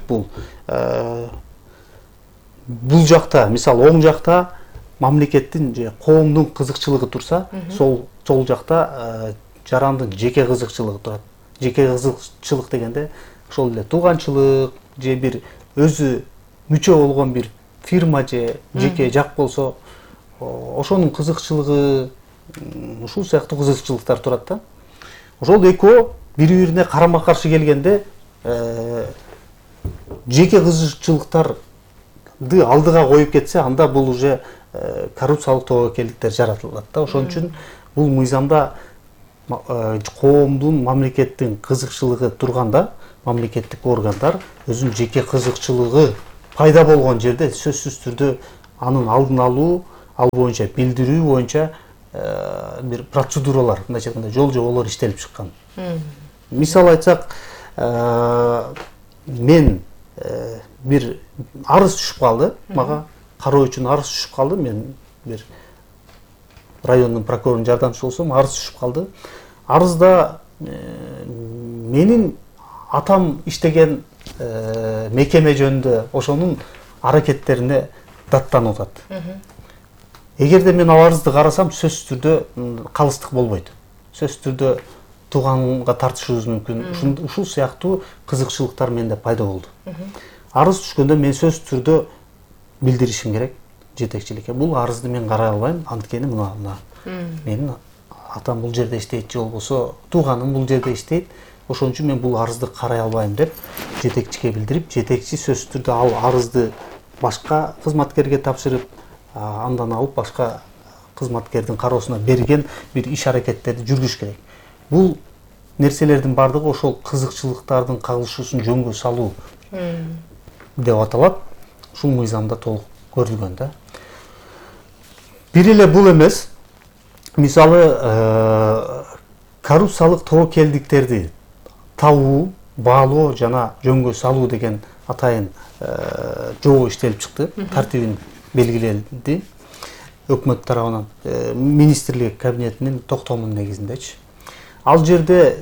Бул жакта, мисалы оң жакта мамлекеттин же коомдун кызыкчылыгы турса, сол жакта жарандын жеке кызыкчылыгы турат. Жеке кызыкчылык дегенде ошол эле тууганчылык же бир өзү мүчө болгон бир фирма же жеке жак болсо, ошонун кызыкчылыгы, ушул сыяктуу кызыкчылыктар турат да. Ошол экөө бири-бирине карама-каршы келгенде жеке кызыкчылыктарды алдыга коюп кетсе, анда бул уже коррупциялык тобокелдиктер жаратылат да. Ошон үчүн бул мыйзамда коомдун, мамлекеттин кызыкчылыгы турганда, мамлекеттик органдар өзүнүн жеке кызыкчылыгы пайда болгон жерде сөзсүз түрдө анын алдын алуу, ал боюнча билдирүү боюнча бир процедуралар, мындайча айтканда жол жоболор иштелип чыккан. Мисал айтсак, мен бир арыз түшүп калды, мага кароо үчүн арыз түшүп калды. Мен бир райондун прокурорунун жардамчысы болсом, арыз түшүп калды. Арызда менин атам иштеген мекеме жөнүндө ошонун аракеттерине даттанып атат. Эгерде мен ал арызды карасам, сөзсүз түрдө калыстык болбойт. Сөзсүз түрдө тууганга тартышыбыз мүмкүн. Ушул сыяктуу кызыкчылыктар менде пайда болду. Арыз түшкөндө мен сөзсүз түрдө билдиришим керек жетекчиликке. Бул арызды мен карай албайм, анткени мына менин атам бул жерде иштейт, же болбосо тууганым бул жерде иштейт. Ошон үчүн мен бул арызды карай албайм деп жетекчиге билдирип, жетекчи сөзсүз түрдө ал арызды башка кызматкерге тапшырып, андан алып башка кызматкердин кароосуна берген бир иш аракеттерди жүргүзүш керек. Бул нерселердин бардыгы ошол кызыкчылыктардын кагылышуусун жөнгө салуу деп аталат. Ушул мыйзамда толук көрүлгөн да. Бир эле бул эмес. Мисалы коррупциялык тобокелдиктерди табуу, баалоо жана жөнгө салуу деген атайын жобо иштелип чыкты. Тартибин белгиленди өкмөт тарабынан, министрлик кабинетинин токтомунун негизиндечи. Ал жерде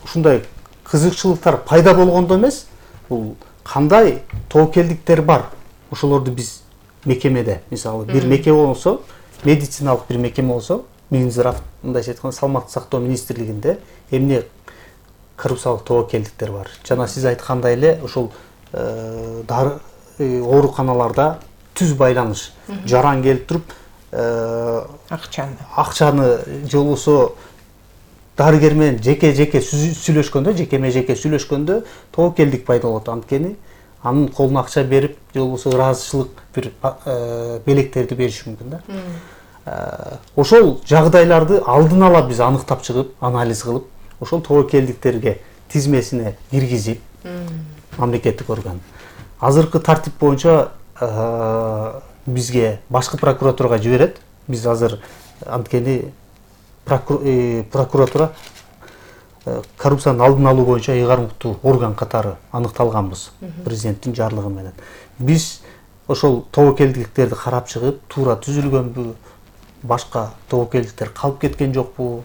ушундай кызыкчылыктар пайда болгондо эмес, бул кандай тобокелдиктер бар, ошолорду биз мекемеде, мисалы бир мекеме болсо, медициналык бир мекеме болсо, Минздрав, мындайча айтканда саламаттык сактоо министрлигинде эмне коррупциялык тобокелдиктер бар. Жана сиз айткандай эле ошол ооруканаларда түз байланыш, жаран келип туруп акчаны же болбосо дарыгер менен жеке сүйлөшкөндө, жекеме-жеке сүйлөшкөндө тобокелдик пайда болот. Анткени анын колуна акча берип, же болбосо ыраазычылык бир белектерди бериши мүмкүн да. Ошол жагдайларды алдын ала биз аныктап чыгып, анализ кылып, ошол тобокелдиктерге тизмесине киргизип, мамлекеттик орган. Азыркы тартип боюнча бизге башкы прокуратурага жиберет. Биз азыр анткени прокуратура коррупциянын алдын алуу боюнча ыйгарымдуу орган катары аныкталганбыз президенттин жарлыгы менен. Биз ошол тобокелдиктерди карап чыгып, туура түзүлгөнбү, башка тобокелдиктер калып кеткен жокпу,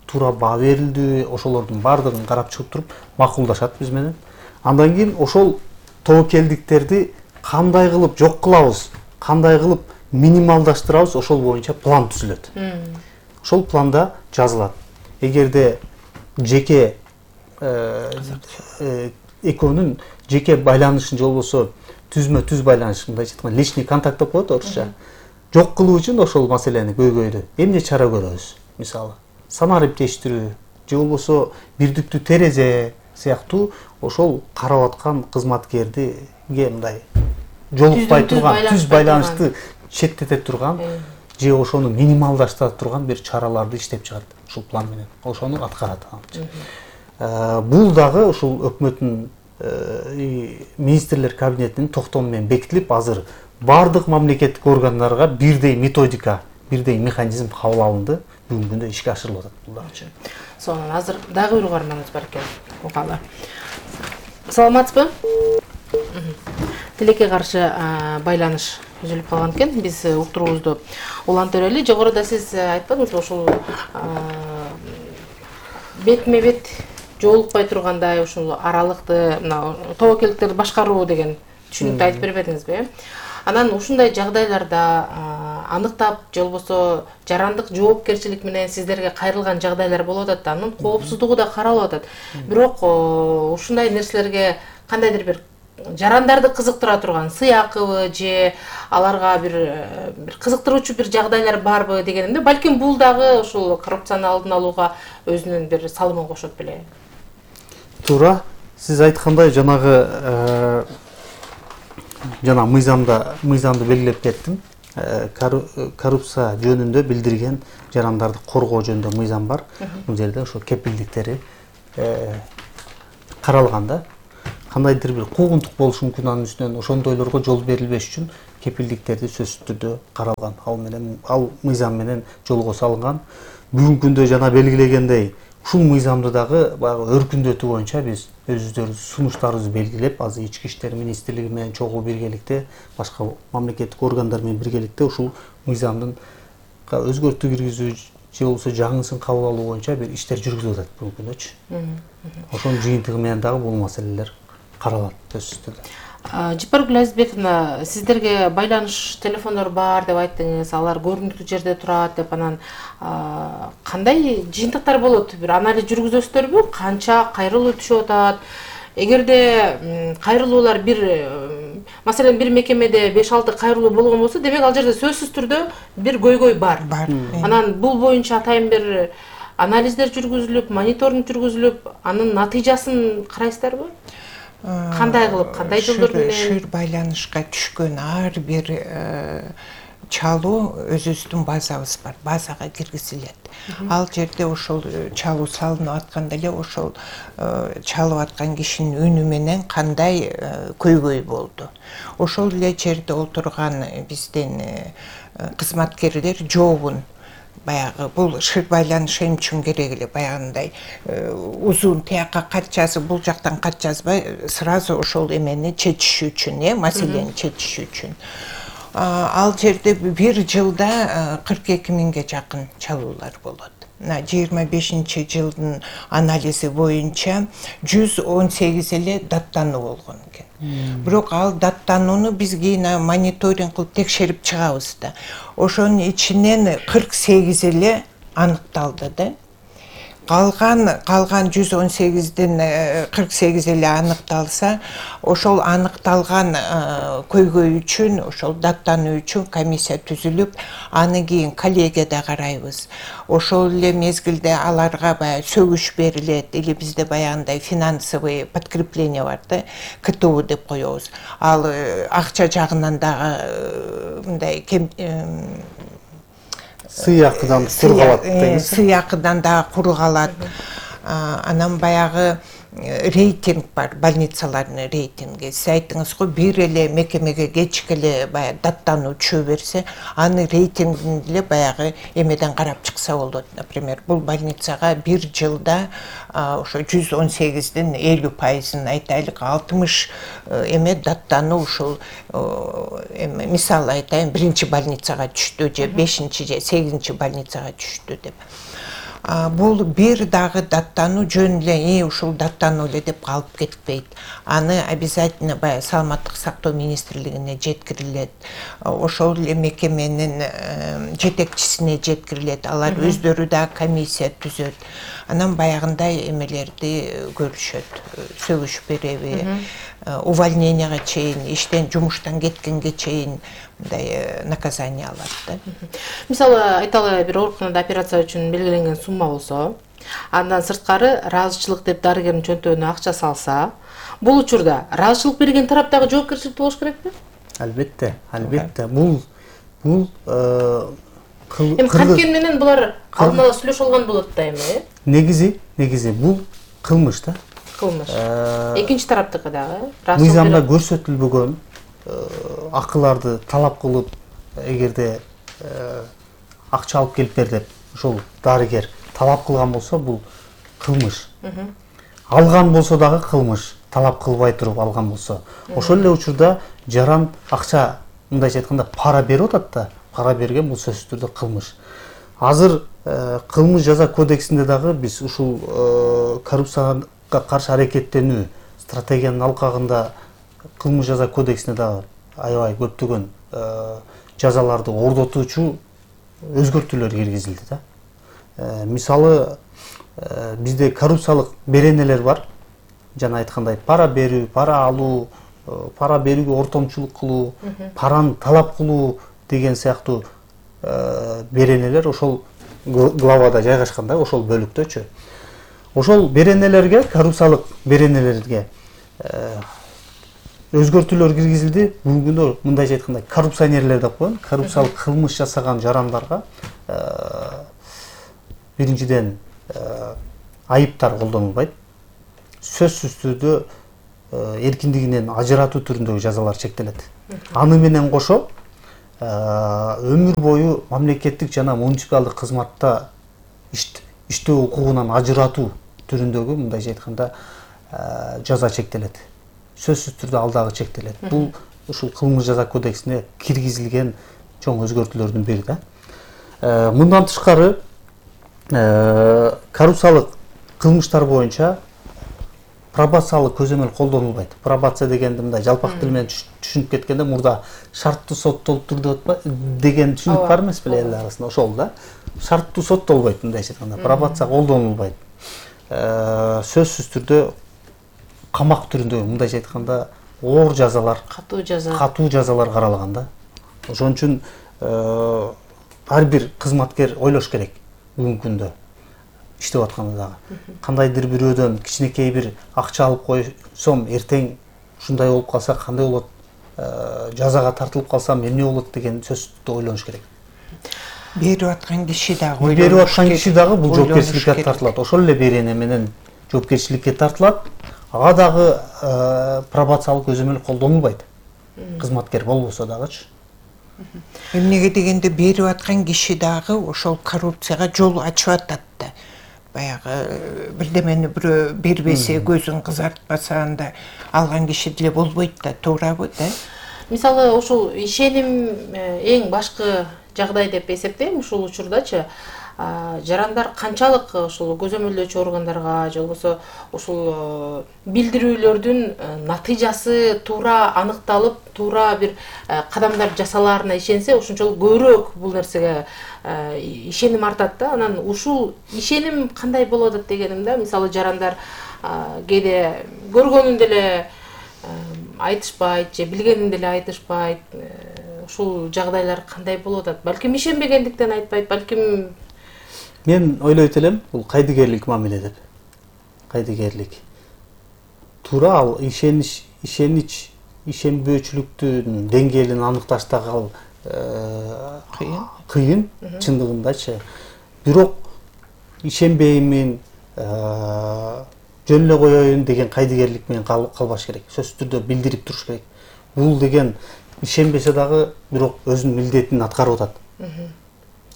туура баа берилдиби, ошолордун баардыгын карап чыгып туруп макулдашат биз менен. Андан кийин ошол тобокелдиктерди кандай кылып жок кылабыз, кандай кылып минималдаштырабыз, ошол боюнча план түзүлөт. Ошол планда жазылат. Эгерде жеке экөөнүн жеке байланышын, же болбосо түзмө-түз байланыш, мындайча айтканда личный контакт деп коет орусча, жок кылуу үчүн ошол маселени көйгөйдү эмне чара көрөбүз? Мисалы, санариптештирүү, же болбосо бирдиктүү терезе сыяктуу ошол карап аткан кызматкердиге мындай жолукпай турган, түз байланышты четтете турган, же ошону минималдаштыра турган бир чараларды иштеп чыгат ушул план менен. Ошону аткарат. Бул дагы ушул өкмөттүн министрлер кабинетинин токтому менен бекитилип, азыр баардык мамлекеттик органдарга бирдей методика, бирдей механизм кабыл алынды. Бүгүнкү күндө ишке ашырылып атат бул дагычы. Сонун азыр дагы бир угарманыбыз бар экен. Угалы. Саламатсызбы? Тилекке каршы байланыш үзүлүп калган экен. Биз уктуруубузду улантып берели. Жогоруда сиз айтпадыңызбы ушул бетме бет жолукпай тургандай ушул аралыкты мына тобокелдиктерди башкаруу деген түшүнүктү айтып бербедиңизби? Анан ушундай жагдайларда аныктап же болбосо жарандык жоопкерчилик менен сиздерге кайрылган жагдайлар болуп атат да, анын коопсуздугу да каралып атат. Бирок ушундай нерселерге кандайдыр бир жарандарды кызыктыра турган сыйакыбы же аларга бир кызыктыруучу бир жагдайлар барбы дегенимде, балким бул дагы ушул коррупцияны алдын алууга өзүнүн бир салымын кошот беле. Туура, сиз айткандай жана мыйзамды белгилеп кеттим. Коррупция жөнүндө билдирген жарандарды коргоо жөнүндө мыйзам бар. Бул жерде ошо кепилдиктери каралган да. Кандайдыр бир куугунтук болушу мүмкүн анын үстүнөн ошондойлорго жол берилбеш үчүн кепилдиктерди сөзсүз түрдө каралган. Ал мыйзам менен жолго салынган. Бүгүнкү күндө жана белгилегендей ушул мыйзамды дагы баягы өркүндөтүү боюнча биз өзүбүздөрүбүз сунуштарыбызды белгилеп, азыр Ички иштер министрлиги менен чогуу биргеликте, башка мамлекеттик органдар менен биргеликте ушул мыйзамдын өзгөртүү киргизүү же болбосо жаңысын кабыл алуу боюнча бир иштер жүргүзүлүп атат бүгүнкү күндөчү. Ошонун жыйынтыгы менен дагы бул маселелер каралат сөзсүз түрдө. Жапаргүл Азизбековна, сиздерге байланыш телефондор бар деп айттыңыз, алар көрүнүктүү жерде турат деп, анан кандай жыйынтыктар болот? Бир анализ жүргүзөсүздөрбү? Канча кайрылуу түшүп атат? Эгерде кайрылуулар маселен бир мекемеде 5-6 кайрылуу болгон болсо, демек ал жерде сөзсүз түрдө бир көйгөй бар. Анан бул боюнча атайын бир анализдер жүргүзүлүп, мониторинг жүргүзүлүп, анын натыйжасын карайсыздарбы? Кандай кылып, кандай жолдор менен? Шыр байланышка түшкөн ар бир чалуу өзүбүздүн базабыз бар, базага киргизилет. Ал жерде ошол чалуу салынып атканда эле ошол чалып аткан кишинин үнү менен кандай көйгөй болду. Ошол эле жерде отурган биздин кызматкерлер жообун баягы бул шыр байланыш эмне үчүн керек эле, баягындай узун тияка кат жазып, бул жактан кат жазбай, сразу ошол эмени чечишүү үчүн, маселени чечишүү үчүн. Ал жерде бир жылда 42 миңге жакын чалуулар болот. 25-жылдын анализи боюнча 118 эле даттануу болгон экен. Бирок ал даттанууну биз кийин мониторинг кылып текшерип чыгабыз да. Ошонун ичинен 48 эле аныкталды да. Калган 118ден 48 эле аныкталса, ошол аныкталган көйгөй үчүн, ошол даттануу үчүн комиссия түзүлүп, аны кийин коллегияда карайбыз. Ошол эле мезгилде аларга баягы сөгүш берилет, или бизде баягындай финансовый подкрепление бар да, КТУ деп коебуз. Ал акча жагынан дагы мындай сыйакыдан кургалат деңиз. Сыйакыдан дагы кургалат. Анан баягы рейтинг бар, больницалардын рейтинги. Сиз айттыңыз го, бир эле мекемеге кечке эле баягы даттануу түшө берсе, аны рейтингин эле баягы эмеден карап чыкса болот. Например, бул больницага бир жылда ошо 118дин 50%-ын айтайлык 60 эме даттануу ушул мисалы айтайын, биринчи больницага түштү же 5-чи же 8-чи больницага түштү деп. Бул бир дагы даттануу жөн эле ушул даттануу эле деп калып кетпейт. Аны обязательно баягы саламаттык сактоо министрлигине жеткирилет. Ошол эле мекеменин жетекчисине жеткирилет. Алар өздөрү да комиссия түзөт. Анан баягындай эмелерди көрүшөт. Сөгүш береби, увольненияга чейин, иштен жумуштан кеткенге чейин мындай наказание алат да. Мисалы, айталы бир ооруканада операция үчүн белгиленген сумма болсо, андан сырткары ыраазычылык деп дарыгердин чөнтөгүнө акча салса, бул учурда ыраазычылык берген тараптагы жоопкерчиликти болуш керекпи? Албетте. Бул канткен менен булар алдын ала сүйлөшүп алган болот да эми? Негизи бул кылмыш да. Кылмыш. Экинчи тараптыкы дагы мыйзамда көрсөтүлбөгөн акыларды талап кылып, эгерде акча алып келип бер деп ошол дарыгер талап кылган болсо, бул кылмыш. Алган болсо дагы кылмыш, талап кылбай туруп алган болсо. Ошол эле учурда жаран акча, мындайча айтканда, пара берип атат да, пара берген бул сөзсүз түрдө кылмыш. Азыр кылмыш жаза кодексинде дагы биз ушул коррупцияга каршы аракеттенүү стратегиянын алкагында кылмыш жаза кодексине дагы аябай көптөгөн жазаларды ордотуучу өзгөртүүлөр киргизилди да. Мисалы, бизде коррупциялык беренелер бар. Жана айткандай, пара берүү, пара алуу, пара берүүгө ортомчулук кылуу, параны талап кылуу деген сыяктуу беренелер ошол главада жайгашкан да, ошол бөлүктөчү. Ошол беренелерге, коррупциялык беренелерге өзгөртүүлөр киргизилди. Бүгүнкү күндө мындайча айтканда коррупционерлер деп коет, коррупциялык кылмыш жасаган жарандарга биринчиден айыптар колдонулбайт. Сөзсүз түрдө эркиндигинен ажыратуу түрүндөгү жазалар чектелет. Аны менен кошо өмүр бою мамлекеттик жана муниципалдык кызматта иштөө укугунан ажыратуу түрүндөгү, мындайча айтканда, жаза чектелет. Сөзсүз түрдө ал дагы чектелет. Бул ушул кылмыш жаза кодексине киргизилген чоң өзгөртүүлөрдүн бири да. Мындан тышкары коррупциялык кылмыштар боюнча пробациялык көзөмөл колдонулбайт. Пробация дегенди мындай жалпак тил менен түшүнүп кеткенде, мурда шарттуу соттолуптур деген түшүнүк бар эмес беле эл арасында, ошол да. Шарттуу соттолбойт, мындайча айтканда, пробация колдонулбайт. Сөзсүз түрдө камак түрүндө, мындайча айтканда, оор жазалар, катуу жазалар каралган да. Ошон үчүн ар бир кызматкер ойлош керек бүгүнкү күндө иштеп атканда дагы. Кандайдыр бирөөдөн кичинекей бир акча алып койсом, эртең ушундай болуп калса кандай болот, жазага тартылып калсам эмне болот деген сөздү ойлош керек. Берип аткан киши дагы ойлош керек. Берип аткан киши дагы бул жоопкерчиликке тартылат. Ошол эле берене менен жоопкерчиликке тартылат. Ага дагы пробациялык көзөмөл колдонулбайт. Кызматкер болбосо дагычы. Эмнеге дегенде берип аткан киши дагы ошол коррупцияга жол ачып атат да. Баягы бирдемени бирөө бербесе, көзүн кызартпаса, анда алган киши деле болбойт да, туурабы да? Мисалы, ушул ишеним эң башкы жагдай деп эсептейм ушул учурдачы. Жарандар канчалык ушул көзөмөлдөөчү органдарга же болбосо ушул билдирүүлөрдүн натыйжасы туура аныкталып, туура бир кадамдар жасалаарына ишенсе, ошончолук көбүрөөк бул нерсеге ишеним артат да. Анан ушул ишеним кандай болот атат дегенимде, мисалы жарандар кээде көргөнүн деле айтышпайт же билгенин деле айтышпайт. Ушул жагдайлар кандай болот атат? Балким ишенбегендиктен айтпайт, балким. Мен ойлойт элем, бул кайдыгерлик мамиле деп. Кайдыгерлик. Туура ал ишенбөөчүлүктүн деңгээлин аныкташтагы кыйын, чындыгындачы. Бирок ишенбеймин, жөн эле коеюн деген кайдыгерлик менен калбаш керек. Сөзсүз түрдө билдирип туруш керек. Бул деген ишенбесе дагы бирок өзүнүн милдетин аткарып атат.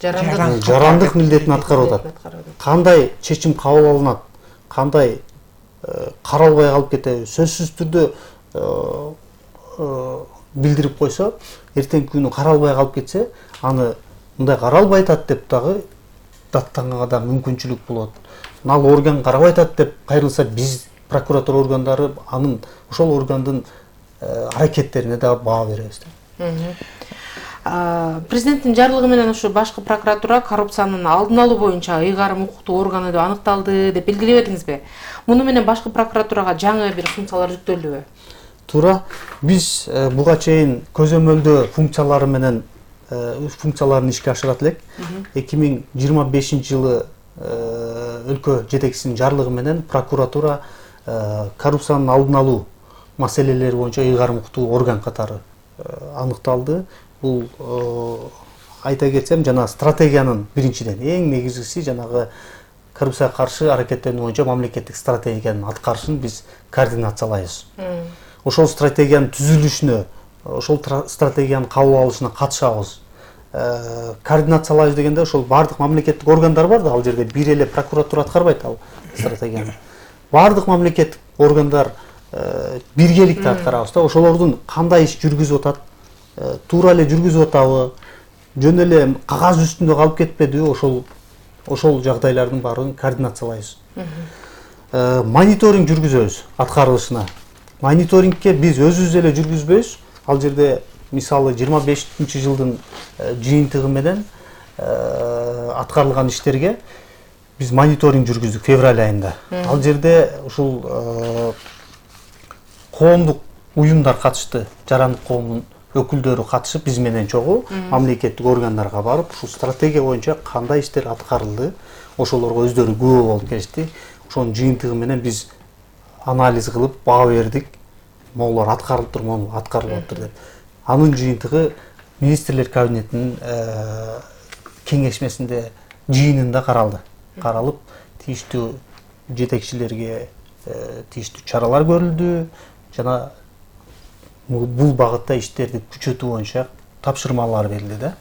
Жарандык милдетин аткарып атат. Кандай чечим кабыл алынат, кандай каралбай калып кетеби, сөзсүз түрдө билдирип койсо, эртеңки күнү каралбай калып кетсе, аны мындай каралбай атат деп дагы даттанганга да мүмкүнчүлүк болот. Ал орган карабай атат деп кайрылса, биз прокуратура органдары анын ошол органдын аракеттерине да баа беребиз. Президенттин жарлыгы менен ушу башкы прокуратура коррупциянын алдын алуу буюнча ыйгарым укуктуу органы деп аныкталды деп белгилеп этиңизби? Муну менен башкы прокуратурага жаңы бир функциялар жүктөлдүбү? Туура. Биз буга чейин көзөмөлдөө функциялары менен функцияларын ишке ашырат элек. 2025-жылы өлкө жетекчисинин жарлыгы менен прокуратура коррупциянын алдын алуу маселелери боюнча ыйгарым укуктуу орган катары аныкталды. Бул айта кетсем, жана стратегиянын биринчиден эң негизгиси жанагы коррупцияга каршы аракеттенүү боюнча мамлекеттик стратегиянын аткарышын биз координациялайбыз. Ошол стратегиянын түзүлүшүнө ошол стратегияны кабыл алышына катышабыз, координациялайбыз дегенде ошол баардык мамлекеттик органдар бар да, ал жерде бир эле прокуратура аткарбайт ал стратегияны. Баардык мамлекеттик органдар биргеликте аткарабыз да, ошолордун кандай иш жүргүзүп атат, туура эле жүргүзүп атабы, жөн эле кагаз үстүндө калып кетпедиби, ошол жагдайлардын баарын координациялайбыз. Мониторинг жүргүзөбүз аткарылышына. Мониторингке биз өзүбүз эле жүргүзбөйбүз. Ал жерде мисалы 25-жылдын жыйынтыгы менен аткарылган иштерге биз мониторинг жүргүздүк февраль айында. Ал жерде ушул коомдук уюмдар катышты, жарандык коомдун өкүлдөрү катышып биз менен чогуу мамлекеттик органдарга барып, ушул стратегия боюнча кандай иштер аткарылды, ошолорго өздөрү күбө болуп келишти. Ошонун жыйынтыгы менен биз анализ кылып баа бердик. Могулар аткарылып тур, могу аткарылып атыр деп. Анын жыйынтыгы министрлер кабинетинин кеңешмесинде жыйынында каралды. Каралып, тийиштүү жетекчилерге тийиштүү чаралар көрүлдү жана бул багытта иштерди күчөтүү боюнча тапшырмалар берилди да.